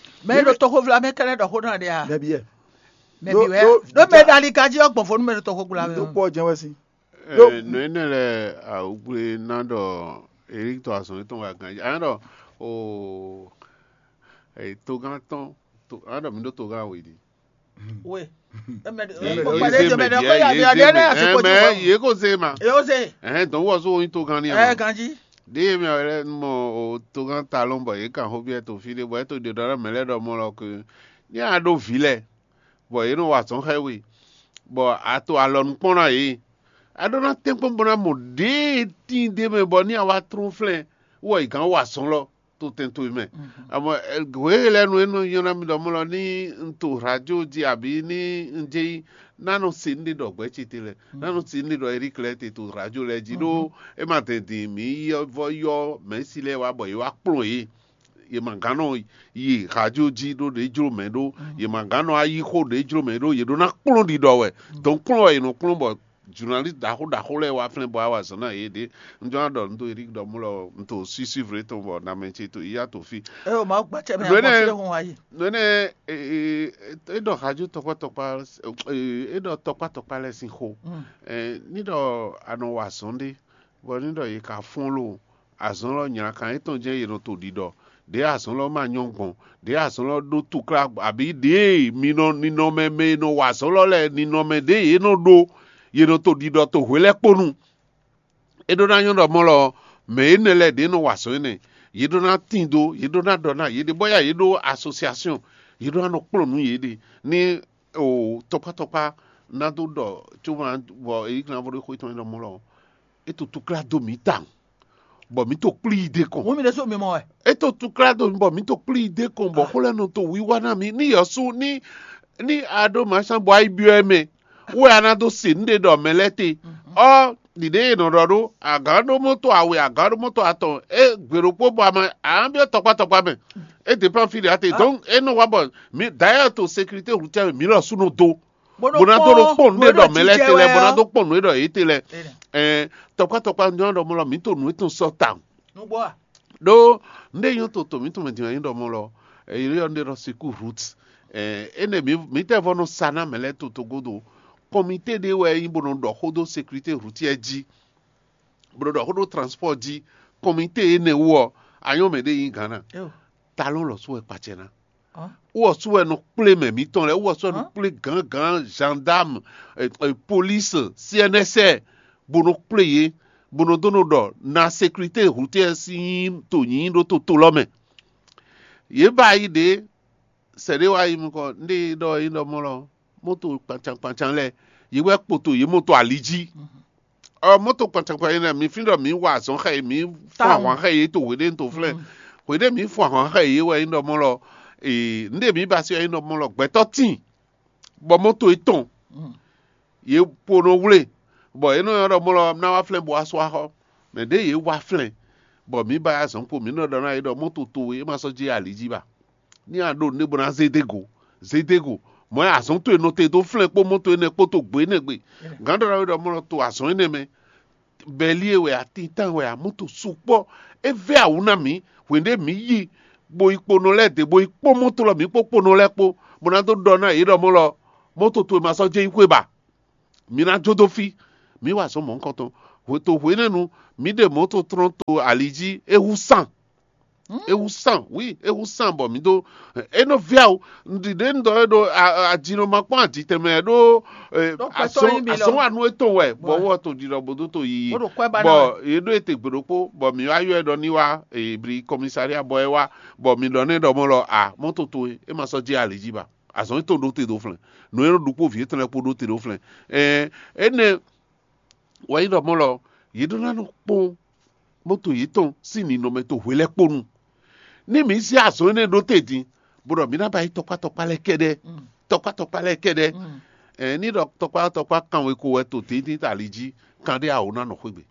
Mɛ e ɖo toxovla mɛ kɛnɛ́ ɖɔ xó ná ɖe a? Nɛbi yɛ. Mɛ Ɖó- bǐ wɛ ɖó- ɖó mɛ ɖo ali ganjí ɔ́ gbɔn vo nú mɛ ɖo toxogbla mɛ Dó ɔ́. Kpɔ́ jɛ́n wɛ sín. Ɛ, nǔ énɛ́ lɛ́ɛ awugbléná ɖɔ Erik tɔ azɔn yětɔn wɛ ganjí. Anyá ɖɔ o e, togán tɔn to anyá ɖɔ mi ɖó togán we ɖi. We. Yě kó zé mɛ díẹ̀, yě zé mɛ. Ɛ mɛ yě kó zé ma. Yóò zé. Ɛhɛn, dɔn wɔ so yin togan ni ɛ ɛ. Ganji. Ɖé mɛ wɛ lɛ mɔ o togan talɔn bɔ yě kan xó biɛ to fí ɖé bɔ é to ɖe ɖɔ mɛ lɛ ɖɔ mɔ lɔ ke ní a ɖó vǐ lɛ bɔ yě nɔ wa azɔn xɛ we bɔ a to alɔ nukpɔ́n ná yě. A ɖó ná tɛ́nkpɔ́n bó ná mɔ ɖěe tíin ɖé mɛ bɔ ní a wá trɔ́n flɛ́n wɔ yi gǎn wa azɔn lɔ to tɛn towe mɛ. Amɔ hweyɛlɛnu e nɔ nyɔ́ ná mi ɖɔ mɔ lɔ ní un to radio jí abǐ ní un jɛ yi ná nɔ se nɖe ɖɔ gbɛ̌ ce te lɛ ná nɔ se nɖe ɖɔ Eric lɛ te to radio lɛ jí ɖó é ma dɛn din mǐ vɔ yɔ mɛ̌si lɛ wá bɔ yě wá kplɔ́n yě. Yě ma gán nɔ yi radio jí ɖó ɖě jló mɛ ɖó yě ma gán nɔ ayi xó ɖě jló mɛ ɖó yě ɖó ná kplɔ́n ɖiɖɔ wɛ dɔn kplɔ́n wɛ yě nɔ kplɔ́n bɔ journaliste ɖaxó ɖaxó lɛ́ɛ wá flɛ́n bɔ wá wa zɔ̌n ná yě ɖě. Un jɔ ná ɖɔ un dó Eric ɖɔ mú lɔ un to suivre tɔn bɔ namɛ ce to yíyá to fí. Eo Mawu gbacɛ mɛ Nɔ abɔ énɛ́- fílẹ̀ hɔn wá yi. Nɔ énɛ́ é ɖɔ xajú tɔkpá tɔkpá é ɖɔ tɔkpá tɔkpá lɛ́ɛ sín xó. Ní ɖɔ a nɔ wa azɔ̌n ɖé bɔ ní ɖɔ yě ka fɔ́n lo azɔ̌n lɔ nylakan étɔn jɛ́n yě nɔ to ɖiɖɔ ɖěe azɔ̌n lɔ ma nyɔ́ gbɔn ɖěe azɔ̌n lɔ ɖó tukla abǐ ɖěe mi nɔ ninɔmɛ mɛ e nɔ wa azɔ̌n lɔ lɛ́ɛ ninɔmɛ ɖěe yě nɔ ɖó yě nɔ to ɖiɖɔ to hwe lɛ́ɛ kpó nu. É ɖó ná nyɔ́ ɖɔ mɔ̌ lɔ mɛ énɛ́ lɛ́ɛ ɖě nɔ wa azɔ̌ énɛ́ yě ɖó ná tín dó yě ɖó ná ɖɔ ná yě ɖe bɔ yá yě ɖó asosiasiɔn yě ɖó ná nɔ kplɔ́n nǔ yě ɖe ní o tɔkpá tɔkpá ná dó ɖɔ có ma bɔ èyí kan vo ɖé xó tɔn é ɖɔ mɔ̌ lɔ é to túklá dó mǐ tawun bɔ mǐ to kplí yi ɖe kɔn. Mú mi ɖésú mi mɔ wɛ. É to túklá dó mǐ bɔ mǐ to kplí yi ɖe kɔn bɔ xó lɛ́ɛ nɔ to wíwá ná mǐ ní yɔ̌sú ní ní a ɖó mǎsán bɔ ayi byɔ́ ɛ mɛ wɛ a ná dó se nǔ ɖé ɖɔ mɛ lɛ́ɛ te. Ɔ ɖiɖe e nɔ ɖɔ ɖó agǎn ɖó mɔto awe agǎn ɖó mɔto atɔn é gbe ɖokpó bɔ ama a nǎ byɔ́ tɔkpá tɔkpá mɛ é dépend fí ɖé ate donc é nɔ wá bɔ mi d'ailleurs to sécurité routière mi lɔ sú nɔ dó bó ná dó ɖo kpɔn nú é ɖɔ mɛ lɛ́ɛ te lɛ bó ná dó kpɔn nú é ɖɔ yě te lɛ ɛɛ tɔkpá tɔkpá nyɔ ɖɔ mɔ lɔ mǐ to nǔ étɔn sɔ tawun. Nú gbɔ a. Ɖó nɖé nyɔ́ to tɔn mǐtɔn mɛ din wɛ nyí ɖɔ mɔ lɔ èyí yɔ nɖé ɖɔ siku route. Ɛɛ énɛ́ mǐ mǐtɛ́ vɔ nɔ sa ná mɛ lɛ́ɛ to togodo kɔmité ɖé wɛ nyí bó nɔ ɖɔ xó dó sécurité routière jí bó nɔ ɖɔ xó dó transport jí kɔmité énɛ́ wú ɔ anyɔ́ mɛ ɖé nyí Ghana. Talɔn lɔ sú wɛ kpacɛ ná. Wɔ sú wɛ nɔ kplé mɛ mǐtɔn lɛ́ɛ wɔ sú wɛ nɔ kplé gǎngǎn gendarme police cnsr bó nɔ kplé yě bó nɔ dó nɔ ɖɔ na sécurité routière sín nyí to nyǐnyí ɖó toto lɔ mɛ. Yě ba yi ɖě sɛ̌ ɖé wá yi nukɔn nɖé ɖɔ é ɖɔ mɔ lɔ moto kpancankpancan lɛ́ɛ yě wɛ kpoto yě moto ali jí. Ɔ moto kpancankpan yě nɛ mi fín ɖɔ mǐ wa azɔ̌ xɛ yě mǐ fún ahwan xɛ yě to hweɖé to flɛ́ hweɖé mǐ fún ahwan xɛ yě wɛ nyí ɖɔ mɔ lɔ nɖé mǐ ba sí wɛ nyí ɖɔ mɔ lɔ gbɛtɔ́ tíin bɔ moto yětɔn yě po nɔ wlé bɔ yě nɔ ylɔ́ ɖɔ mɔ lɔ ná wá flɛ́ bó wá sú axɔ mɛ ɖě yě wá flɛ́ bɔ mǐ ba yá zɔ̌n kpo mǐ nɔ ɖɔ ná yě ɖɔ moto towe é ma sɔ́ jí ali jí ba ní a ɖo nǔɖé bó ná zé dé go zé dé go mɔ̌ azɔ̌n towe nɔ te dó flɛ́ kpó moto énɛ́ kpó to gbě énɛ́ gbe gǎn ɖɔ ná wí ɖɔ mɔ lɔ to azɔ̌ énɛ́ mɛ bɛlí e wɛ a tintán wɛ a moto sukpɔ́ é vɛ́ awǔ ná mǐ hwěɖé mǐ yi bo yi kponɔ lɛ́ɛ dě bo yi kpɔ́n mɔ́ tlɔ́ mǐ kpó kponɔ lɛ́ɛ kpó bó ná dó ɖɔ ná yě ɖɔ mɔ́ lɔ mɔ́ toto e ma sɔ́ jɛ yi xwé ba. Mǐ ná jó dó fí mǐ wa azɔ̌ mɔ̌hunkɔtɔn hwěto hwěnɛ́nu mǐ ɖe mɔ̌ to tlɔ́n to ali jí é hú sán é hú sán wí é hú sán bɔ mǐ dó é nɔ vɛ́ awu ɖiɖe un ɖɔ é ɖo ajinɔ ma kpɔ́n ajitɛnmɛ ɖó azɔ̌wanu étɔn wɛ bɔ wɔ to ɖiɖɔ bó dó to yiyi bɔ yě ɖó ete gbe ɖokpó bɔ mǐ wá yɔ ɛ ɖɔ ní wá bli kɔmisaria bɔ é wá bɔ mǐ ɖɔ nɛ ɖɔ mɔ lɔ a mɔto towe é ma sɔ́ jɛ ali jí ba azɔn tó ɖó te ɖó flɛn nǔ e nɔ ɖu kpó vǐ étɔn lɛ́ɛ kpó ɖó te ɖó flɛn ɛɛ énɛ́ wɛ nyí ɖɔ mɔ lɔ yě ɖó ná nɔ kpɔ́n mɔto yětɔn sín ninɔmɛ to hwe lɛ́ɛ kpó nu ní mǐ sí azɔn énɛ́ ɖó te din bó ɖɔ mǐ ná ba yi tɔkpá tɔkpá lɛ́ɛ kɛ́ɖɛ́ tɔkpá tɔkpá lɛ́ɛ kɛ́ɖɛ́ ɛɛ ní ɖɔ tɔkpá tɔkpá kanwe ko wɛ to tɛ́ntin tali jí kan ɖé awo ná nɔ xwé gbe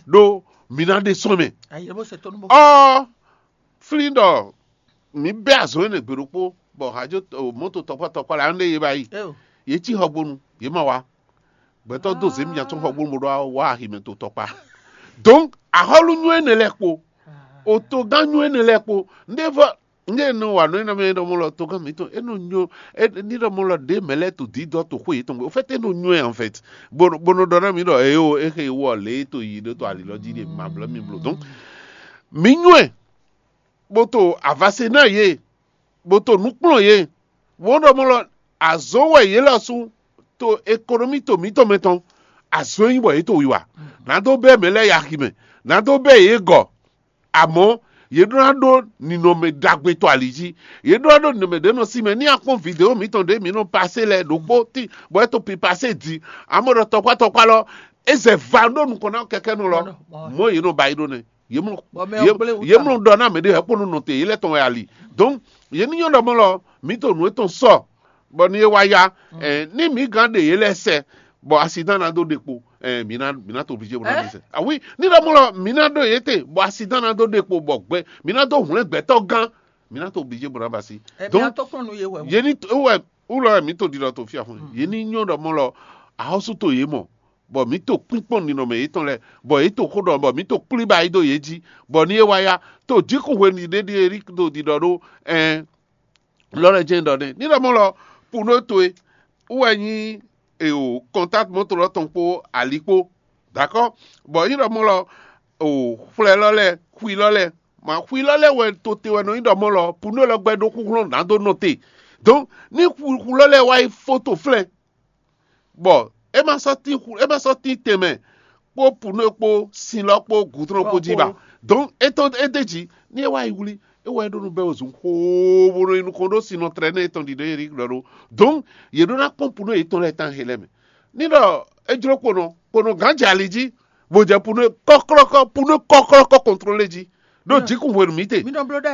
ɖó mǐ ná ɖe sɔn mɛ ɔ flín ɖɔ mǐ bɛ́ azɔn énɛ́ gbe ɖokpó bɔ hajo mɔto tɔkpá tɔkpá lɛ an ɖe yě ba yi yě cí xɔgbónu yě ma wá gbɛtɔ́ dó zě mǐ tɔn xɔgbónu bó ɖó wá aximɛ to tɔkpá donc axɔ́lú nywɛ́ énɛ́ lɛ́ɛ kpó otogán nywɛ́ énɛ́ lɛ́ɛ kpó ndé vɔ ndé nɔ wa nɔ énɛ́ mɛ ɖɔ mɔ lɔ togán mǐtɔn é nɔ nyo ní ɖɔ mɔ lɔ ɖě mɛ lɛ́ɛ to dǐdɔ to xwé yětɔn gbé au fait é nɔ nywɛ́ en fait bó nɔ ɖɔ ná mǐ ɖɔ eyo é xe wɔ lě to yi ɖó to ali lɔ jí ɖe ma blɛ́ mi blo donc mǐ nywɛ́ bó to avase ná yě bó to nǔ kplɔ́n yě wǒ ɖɔ mɔ lɔ Azɔn wɛ yě lɔ sú to ekonomi to mǐtɔn mɛ tɔn. Azɔn nyí bɔ yě to wiwa. Nǎ dó bɛ́ mɛ lɛ́ɛ yi axi mɛ. Nǎ dó bɛ́ yě gɔ̌. Amɔ̌, yě ɖó ná ɖó ninɔmɛ ɖagbe to ali jí. Yě ɖó ná ɖó ninɔmɛ ɖě nɔ sí mɛ. Ní a kpɔ́n vidéo mǐtɔn ɖě mǐ nɔ pasé lɛ́ɛ ɖokpó tí bɔ é to pi pasé din. Amɔ̌ ɖɔ tɔkpá tɔkpá lɔ, é zɛ va ɖó nukɔn ná kɛkɛ́nɔ lɔ. Mɔ̌ yě nɔ ba yi ɖó nɛ. Yě mlɔ yě mlɔ ɖɔ ná mɛ ɖé hɛ̌ kpó nɔ nɔ te yě lɛ́ tɔn wɛ ali. Donc yě ní nyɔ́ ɖɔ mɔ lɔ, mǐ to nǔ etɔn sɔ bɔ ní é wá yá. Ní mǐ gán ɖe yě lɛ́ɛ sɛ bɔ asidán ná dó ɖe kpo, mǐ ná mǐ ná to obligé bó ná ɖe sɛ. Ah oui, ní ɖɔ mɔ lɔ, mǐ ná ɖo yě te bɔ asidán ná dó ɖe kpo bɔ gbɛ mǐ ná dó hwlɛ́n gbɛtɔ́ gán, mǐ ná to obligé bó ná ba sí. Donc yě ní wɛ wúlɔ wɛ mǐ to ɖiɖɔ to fí afɔn yě ní nyɔ́ ɖɔ mɔ lɔ, axɔ́sú to yě mɔ bɔ mǐ to kpínkpɔ́n ninɔmɛ yětɔn lɛ́ɛ, bɔ yě to xó ɖɔ bɔ mǐ to kplí ba yi dó yě jí, bɔ ní é wá yá, to jǐkun hwenu ɖě ɖíe rí do ɖiɖɔ ɖó ɛn lɔ lɛ́ jɛ́n ɖɔ nɛ́. Ní ɖɔ mɔ̌ lɔ, Puno towe wú wɛ nyí eo kɔntáti mɔto lɔ tɔn kpó ali kpó, dakɔ, bɔ nyí ɖɔ mɔ̌ lɔ, o xwlɛ lɔ lɛ́ɛ, xwi lɔ lɛ́ɛ, ma xwi lɔ lɛ́ɛ wɛ to te wɛ nɔ nyí ɖɔ mɔ̌ lɔ Puno lɔ gbɛ ɖó xúxlɔ́n nǎ dó nɔ te. Donc ní xu lɔ lɛ́ɛ wá yi fó to flɛ́n, bɔ é ma sɔ́ tín xu é ma sɔ́ tín tɛnmɛ kpó Puno kpó sin lɔ kpó gǔdrɔn kpó jí ba. Donc é tɔn é d'é jí ní é wá yi wlí, é wá yi ɖó nú bɛ́ wezun xoo bó nɔ yi nukɔn ɖó sin nɔ tlɛ nɛ́ é tɔn ɖiɖɔ é ɖi ɖɔ ɖó. Donc yě ɖó ná kpɔ́n Puno yětɔn lɛ́ɛ tán he lɛ́ɛ mɛ. Ní ɖɔ é jló kponɔ kponɔ gǎn jɛ ali jí, bó jɛ Puno kɔ́klɔ́kɔ́ Puno kɔ́klɔ́kɔ́ kɔntlólé jí ɖó jǐkun hwenu mǐ te.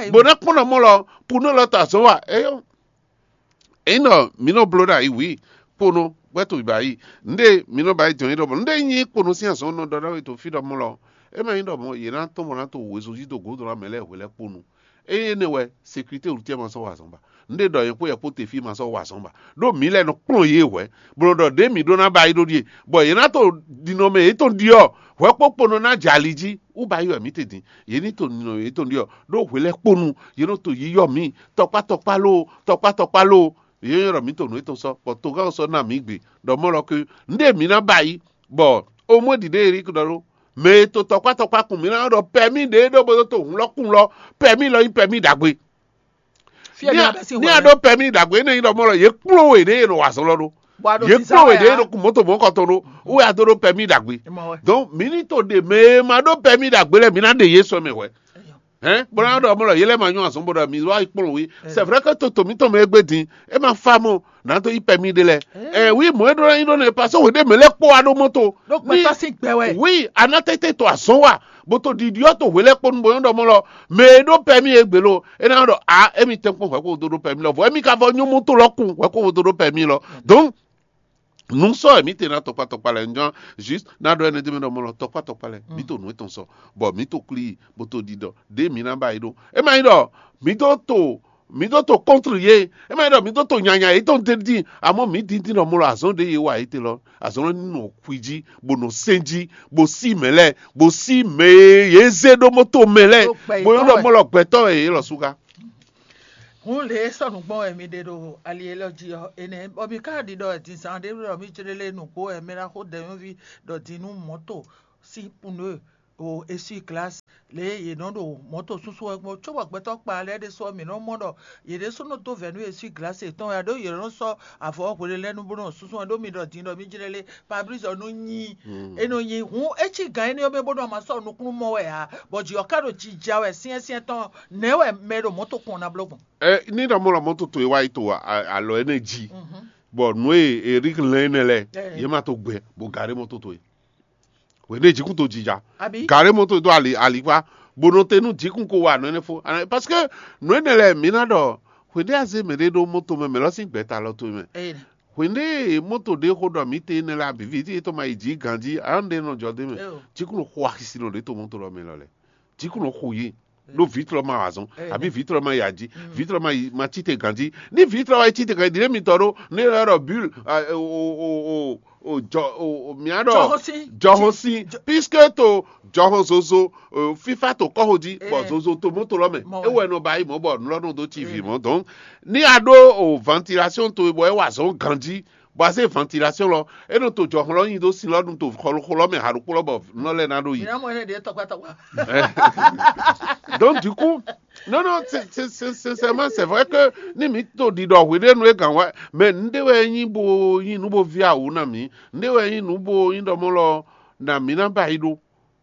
Bó ná kpɔ́n nɔ mɔ lɔ Puno lɔ ta azɔ̌ wa é nyí ɖɔ mǐ nɔ bló ɖo ayǐ wǐ kponɔ bɔ é to bǐ ba yi. Nǔɖé mǐ nɔ ba yi jɔn yi ɖɔ mɔ nǔɖé nyí kponɔ sín azɔn nɔ ɖɔ ɖɔ é to fí ɖɔ mɔ lɔ, é ma nyí ɖɔ mɔ yě ná tɔn bɔ ná to wezun jí do gǒdo ná mɛ lɛ́ɛ hwe lɛ́ɛ kponu. Ényí énɛ́ wɛ sécurité routière ma sɔ́ wa azɔn ba. Nǔɖé ɖɔ yě kpó yɛ kpó te fí ma sɔ́ wa azɔn ba. Ɖó mǐ lɛ́ɛ nɔ kplɔ́n yě hwɛ̌, bó nɔ ɖɔ ɖě mǐ ɖó ná ba yi ɖó ɖíe, bɔ yě ná to ɖinɔmɛ yětɔn ɖiɔ hwɛ̌ kpó kponɔ ná jɛ ali jí wú ba yi wɛ mǐ te din. Yě ní to ɖinɔmɛ yětɔn ɖiɔ ɖó hwe lɛ́ɛ kponu yě nɔ to yiyɔ mǐ tɔkpá tɔkpá lóo tɔkpá tɔkpá lóo. Yě nyɔ́ ɖɔ mǐ to nǔ étɔn sɔ́, bɔ togán ɔ́ sɔ́ ná mǐ gbe ɖɔ mɔ̌ lɔ ké nǔɖé mǐ ná ba yi, bɔ omwé ɖiɖe Erik ɖɔ ɖó mɛ e to tɔkpá tɔkpá kun mǐ ná ɖɔ pɛmí ɖě ɖó bó dó to hǔn lɔ kun lɔ, pɛmí lɔ nyí pɛmí ɖagbe. Ní a ɖó pɛmí ɖagbe énɛ́ nyí ɖɔ mɔ̌ lɔ yě kplɔ́n we ɖě e nɔ wa azɔn lɔ ɖó. Yě kplɔ́n we ɖě e nɔ kun mɔ̌to mɔ̌kɔtɔn ɖó wú wɛ a dó ɖó pɛmí ɖagbe. Donc mǐ ní to ɖe mɛ e ma ɖó pɛmí ɖagbe lɛ́ɛ mǐ ná ɖe yě sɔ mɛ hwɛ̌. Hɛn bó ná ɖɔ mɔ̌ lɔ yě lɛ́ ma nyɔ́ azɔn bó ɖɔ mi wá yi kplɔ́n wí. C'est vrai que to to mǐtɔn mɛ e gbé din é ma fa mɔ nǎ dó yi pɛmí ɖé lɛ́ɛ. Ɛ wi mɔ̌ e ɖó ná nyí ɖó nɛ́ pasó hwě ɖé mɛ lɛ́ kpó wá ɖó mɔ́ to. Ɖó gbɛtɔ́ sín gbɛ wɛ. Wi a ná tɛ́tɛ́ to azɔn wa bó to ɖiɖi ɔ́ to hwě lɛ́ɛ kpó nu bó nyɔ́ ɖɔ mɔ̌ lɔ mɛ e ɖó pɛmí e gbě lo é ná ɖɔ a émi tɛ́nkpɔ́n hwɛ̌ kó dó ɖó pɛmí lɔ vɔ émi ka vɔ nyɔ́ mɔ́ to lɔ kún hwɛ̌ kó dó ɖó pɛmí lɔ. Donc nǔ sɔ́ wɛ mǐ te ná tɔkpá tɔkpá lɛ́ɛ njɔ́n juste ná ɖɔ énɛ́ dó mɛ ɖɔ mɔ̌ lɔ tɔkpá tɔkpá lɛ́ɛ mǐ to nǔ étɔn sɔ́ bɔ mǐ to klí bó to ɖiɖɔ ɖě mǐ ná ba yi ɖó. É ma nyí ɖɔ mǐ dó to mǐ dó to kɔntr yě é ma nyí ɖɔ mǐ dó to nyanya yětɔn d'é dín amɔ̌ mǐ dín dín ɖɔ mɔ̌ lɔ azɔn ɖě yě wa yě te lɔ azɔn lɔ ní nɔ xwi jí bó nɔ sɛn jí bó sí mɛ lɛ́ɛ bó sí mɛ e yě zé ɖó mɔ́ to mɛ lɛ́ɛ bó nyɔ́ ɖɔ mɔ̌ lɔ gbɛtɔ́ wɛ yě lɔ sú ká. Hǔn lě e sɔ́ nǔ gbɔn wɛ mi ɖe ɖo ali élɔ́ jí ɔ́, énɛ́ bɔ mi ka ɖi ɖɔ din zan ɖé ɖɔ mi jlé lé nǔgbó wɛ mɛ ná xó dɛ̌nyɔ́ví ɖɔ din nú mɔ̌to sín pneu o essuie-glace lě e yě nɔ ɖo mɔ̌to súnsún wɛ gbɔn cóbɔ gbɛtɔ́ kpa lɛ́ɛ ɖésú ɔ́, mǐ nɔ mɔ ɖɔ yě ɖésú nɔ dó vɛ̌ nú essuie-glace yětɔn wɛ ǎ ɖó yě nɔ sɔ́ avɔ ɔ́ hwelelɛ́nu bó nɔ súnsún wɛ ɖó mi ɖɔ din ɖɔ mi jlé lé Fabrice ɔ́ nɔ nyi é nɔ nyi hǔn é cí gǎn énɛ́ ɔ́ mɛ bó nɔ ma sɔ́ nukúnnú mɔ wɛ ǎ, bɔ jǐ ɔ́ ka ɖo jija wɛ syɛ́nsyɛ́n tɔn nɛ̌ wɛ mɛ e ɖo mɔ̌to kɔn ná bló gbɔn? Ɛ ní ɖɔ mɔ lɔ mɔ́ toto e wá yi to alɔ énɛ́ jí, bɔ nǔ e Eric lɛn énɛ́ lɛ́ɛ yě ma to gbɛ bó gaɖé mɔ́ toto e. Hwěɖé jǐkún to jija, gaɖé mɔ́ to dó ali alikpá, bó nɔ te nú jǐkún ko wa nǔ énɛ́ fó. Parce que nǔ énɛ́ lɛ́ɛ mǐ ná ɖɔ hwěɖé a zé mɛɖé ɖó mɔ́to mɛ mɛ lɔ sín gbɛ̌ta lɔ towe mɛ. Hwěɖé mɔ́to ɖé xó ɖɔ mǐ te énɛ́ lɛ́ɛ abǐ vǐ tɔn ma yi jǐ ganjí, a nɔ ɖe nɔ jɔ dó mɛ. Jǐkún xo axisi nɔ ɖě to mɔ́to lɔ mɛ lɔ lɛ́ɛ. Jǐkún nɔ xo yě ɖó vitrɔ ma wa azɔn abi vitrɔ ma yi aji vitrɔ ma yi ma tite ganji. Ní vitrɔ wa yi tite ganji ɖiɖe mitɔ ɖó ní yɔrɔ ɖɔ bul o o o o jɔ o mia ɖɔ jɔhɔnsin puisque to jɔhɔn zozo fifa to kɔho ji bɔ zozo to moto lɔ mɛ ewɔ ɛnɔ ba yi mɔ bɔ nulɔ nɔ do tv mɔ donc ní a ɖó o ventilation to bɔ ɛ wa azɔn ganji bɔ a zé ventilation lɔ é nɔ to jɔhɔn lɔ nyi dó sin lɔ nu to xɔlɔxɔ lɔ mɛ haɖokpó lɔ bɔ nulɔ lɛ na ɖo yi. Mìíràn mɔ ɛnɛ ɖe tɔkpatɔkpa. Donc du coup Non, non, c'est, c'est, c'est, sincèrement, c'est vrai que ni mǐ to ɖiɖɔ hweɖénu é gǎn wá, mɛ nǔɖé wɛ nyí bo nyí nǔ bo ví awǔ na mǐ, nǔɖé wɛ nyí nǔ bo nyí ɖɔ mɔ lɔ na mǐ ná ba yi ɖó,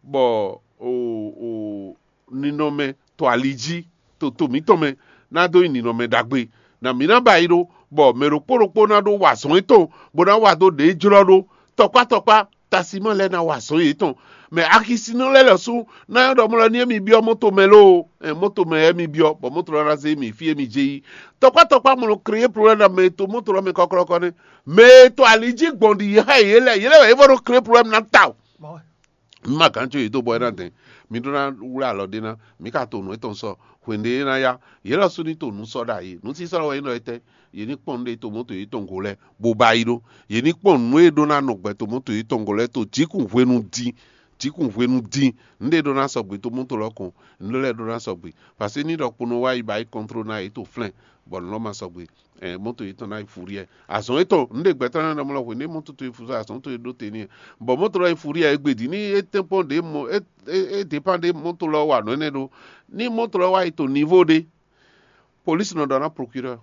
bɔ o o ninɔmɛ to ali jí to to mǐtɔn mɛ ná dó nyí ninɔmɛ ɖagbe, na mǐ ná ba yi ɖó, bɔ mɛ ɖokpó ɖokpó ná ɖó wa azɔn yětɔn, bó ná wa dó ɖě jlɔ́ ɖó, tɔkpá tɔkpá tasimɔ lɛ́ɛ ná wa azɔn yětɔn. Mɛ axisinɔ lɛ́ɛ lɔ sú ná nyɔ́ ɖɔ mɔ lɔ ní émi byɔ́ mɔto mɛ lóo, ɛ, mɔto mɛ émi byɔ́, bɔ mɔto lɔ ná zé émi fí émi jɛ yi. Tɔkpá tɔkpá mɔ lɔ kreye problème na mɛ e to mɔto lɔ mɛ kɔkɔlɔkɔ nɛ́. Mɛ e to ali jí gbɔn ɖi yě xá yě lɛ́ɛ, yě lɛ́ɛ wɛ é vɔ nɔ kreye problème ná ta o. Mǐ ma gǎn có yě dó bɔ é ná dɛn. Mi ɖó ná wlá alɔ ɖé ná, mǐ ka to nǔ étɔn sɔ. Hwenu e é ná yá, yě lɔ sú ní to nǔ sɔ ɖ'ayǐ. Nǔsísɔ wɛ é nɔ etɛ́. Yě ní kpɔ́n nǔɖé to mɔto yětɔn go lɛ́ɛ, bó ba yi ɖó. Yě ní kpɔ́n nǔ e ɖó ná nɔ gbɛ to mɔto yětɔn go lɛ́ɛ to jǐkún hwenu dín. Jǐkún hwenu dín. Nǔɖé ɖó ná sɔgbe to mɔto lɔ kɔn. Nǔɖé lɛ́ɛ ɖó ná sɔgbe. Parce que ní ɖɔ kpono wá yi ba yi kɔntró ná yě to flɛ́n, bɔ nǔ lɔ ma sɔgbe. Ɛ, mɔto yětɔn ná yi fuɖiɛ. Azɔn yětɔn, nǔɖé gbɛtɔ́ ná ɖɔ mɔ lɔ hwenu e mɔto to yi fuɖiɛ, azɔn to yi ɖó te n'i. Bɔ mɔto lɔ yi fuɖiɛ é gbe dǐ ní é tɛ́nkpɔ́n ɖě mɔ é é é dépend ɖě mɔto lɔ wa nǔ énɛ́ ɖó. Ní mɔto lɔ wá yi to nivo ɖé, polísi nɔ ɖɔ ná prokirɛ́,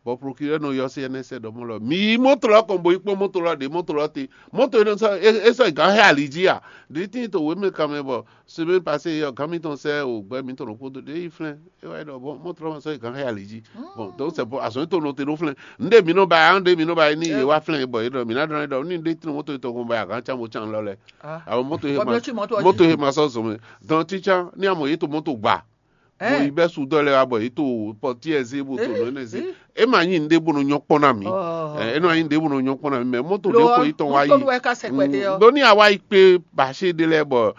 bɔ prokirɛ́ nɔ yɔ C N S ɖɔ mɔ lɔ mi yi mɔto lɔ kɔn bo yi kpɔ́n mɔto lɔ ɖě mɔto lɔ te. Mɔto énɛ́ sɔ é é sɔ yi gǎn xɛ ali jí a? Ɖě tíin to wěmɛ kanmɛ bɔ semaine passée ɔ́, gǎn mitɔn sɛ́ o gbɛ mitɔn ɖokpó dó ɖě yi flɛ́n. É wá yi ɖɔ bɔ mɔto lɔ ma sɔ́ yi gǎn xɛ ali jí. Bon, donc c'est bon, azɔn to nɔ te ɖó flɛ́n. Nɖe mi nɔ ba ya, nɖe mi nɔ ba yi ní yě wá flɛ́n bɔ yě ɖɔ mi ná ɖɔ ɖɔ ní ɖe tinu mɔto tɔn kɔn ba ya gǎn can bo can lɔ lɛ. Àwọn mɔto he ma mɔto he ma sɔ zɔn mɛ. Donc títí ní amɔ yě to mɔto gba. Bon, yi bɛ su dɔ lɛ wa bɔ yě to pɔtiɛ zé bo to nɔ ne zé. É ma nyi nɖe bo nɔ nyɔ kpɔn na mi. É nɔ nyi nɖe bo nɔ nyɔ kpɔn na mi mɛ mɔto ɖe ko yi tɔn wa yi. Ɖo ní awa yi kpé bàṣẹ ɖe lɛ bɔ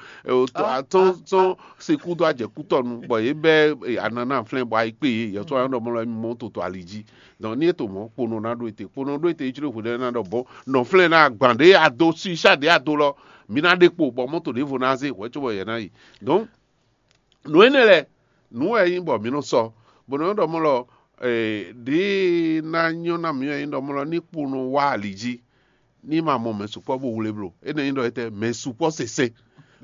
atɔn tɔn se kú dó ajɛ kú tɔnu bɔ yě bɛ anana flɛn bɔ ayi kpé yě yɛ sɔ anɔ mɔ lɔ mɔ to to ali jí. Donc ní eto mɔ kponɔ na ɖo ete kponɔ ɖo ete itsúlò hwedɛ na ɖɔ bɔ nɔ flɛn na gbàn ɖe ado si sa ɖe ado lɔ mi na ɖe kpo bɔ mɔto ɖevo na zé hwɛ cóbɔ yɛ na yi. Donc nǔ énɛ́ lɛ nǔ wɛ nyí bɔ mi nɔ sɔ bɔ nɔ ɖɔ mɔ lɔ ɖe na nyɔ na mi wɛ nyí ɖɔ mɔ lɔ ní kponɔ wá ali jí. Ní ma mɔ mɛ sukpɔ́ bó wlé bló. Énɛ́ nyí ɖɔ étɛ́ mɛ sukpɔ́ sese.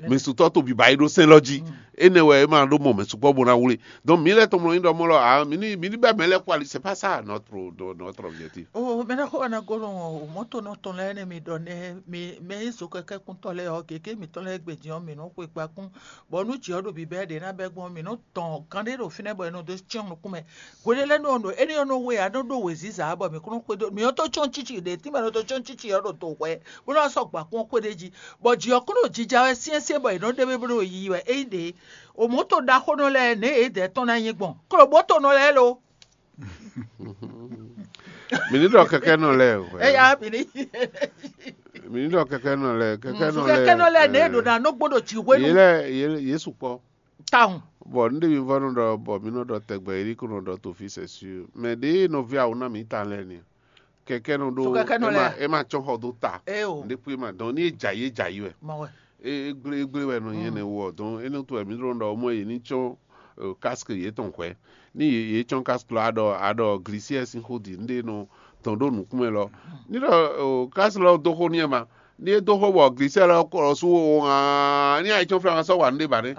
Mɛ sutɔ́ to biba yi ɖó sɛn lɔ jí. Énɛ́ wɛ é ma ɖó mɔ mɛ sukpɔ́ bó ná wlé. Donc mi lɛ́ tɔmlɔ nyí ɖɔ mɔ lɔ a mi ní mi ní bɛ mɛ lɛ́ kpó ali c'est pas ça notre notre objectif. O mɛ ɖaxó wɛ ná gɔlɔ o mɔto nɔ tɔn lɛ ne mi ɖɔ ne mi mɛ yi zo kɛkɛ kuntɔ lɛ ɔ gege mi tɔn lɛ gbedzi ɔ mi nɔ xwe kpa kún bɔ nu dzi ɔ ɖo bibɛ ɖe na bɛ gbɔn mi nɔ tɔn kan ɖe ɖo finɛ bɔ e nɔ do tiɔn nukun mɛ. Hweɖé lɛ́ɛ nɔ nɔ énɛ́ ɔ́ nɔ we ǎ nɔ ɖó wěziza ǎ bɔ mǐ kún nɔ xwedó mǐ ɔ́ tó cɔ́n cíci ɖě tínmɛ nɔ tó cɔ́n cíci ɔ́ ɖo to hwɛ bó nɔ́ sɔ́ gbɔ akún ɔ́ xwé ɖé jí, bɔ jǐ ɔ́ kún ɖo jija wɛ syɛ́nsyɛ́n bɔ è nɔ́ ɖe bó ɖo yiyi wɛ. Ényí ɖě, omɔ̌to ɖaxónɔ lɛ́ɛ nɛ̌ yě dɛ̌ tɔn ná nyí gbɔn? Klobǒtonɔ lɛ́ɛ lo. Mǐ ní ɖɔ kɛkɛ́nɔ lɛ́ɛ hwɛ. Eya mǐ ní. Mǐ ní ɖɔ kɛkɛ́nɔ lɛ́ɛ, kɛkɛ́nɔ lɛ́ɛ. Kɛkɛ́nɔ lɛ́ɛ nɛ̌ ɖo ná nɔ gbɔn ɖo jǐ hwenu. Yě lɛ́ɛ yě sukpɔ́. Tawun. Bɔ nɖe mi vɔ nɔ ɖɔ bɔ mi nɔ ɖɔ tɛgbɛ yi ko nɔ ɖɔ to fi c'est sûr. Mais ɖe nɔvi awu na mi ta lɛ ni. Kɛkɛ nɔ ɖo. So kɛkɛ nɔ e ma lɛ. E ma tsɔ xɔ do ta. E o. Nɖe kpui ma dɔn ni e dza yi e dza yi wɛ. Ma wɛ. E e gble e gble wɛ nɔ yɛn ne wɔ dɔn e nɔ to wɛ mi ɖo ɖɔ mɔ ye ni tsɔ casque ye tɔn hwɛ. Ni ye ye tsɔ casque lɔ aɖɔ aɖɔ glisiɛ sin xo di nɖe nɔ tɔn ɖo nukun mɛ lɔ. Ni ɖɔ casque lɔ do xo ni ma. Ní é dó xó bɔ glisɛ lɔ kɔ sú wo hàn ní ayitsɔ́n fla ma sɔ́ wa nú ɖé ba nɛ́.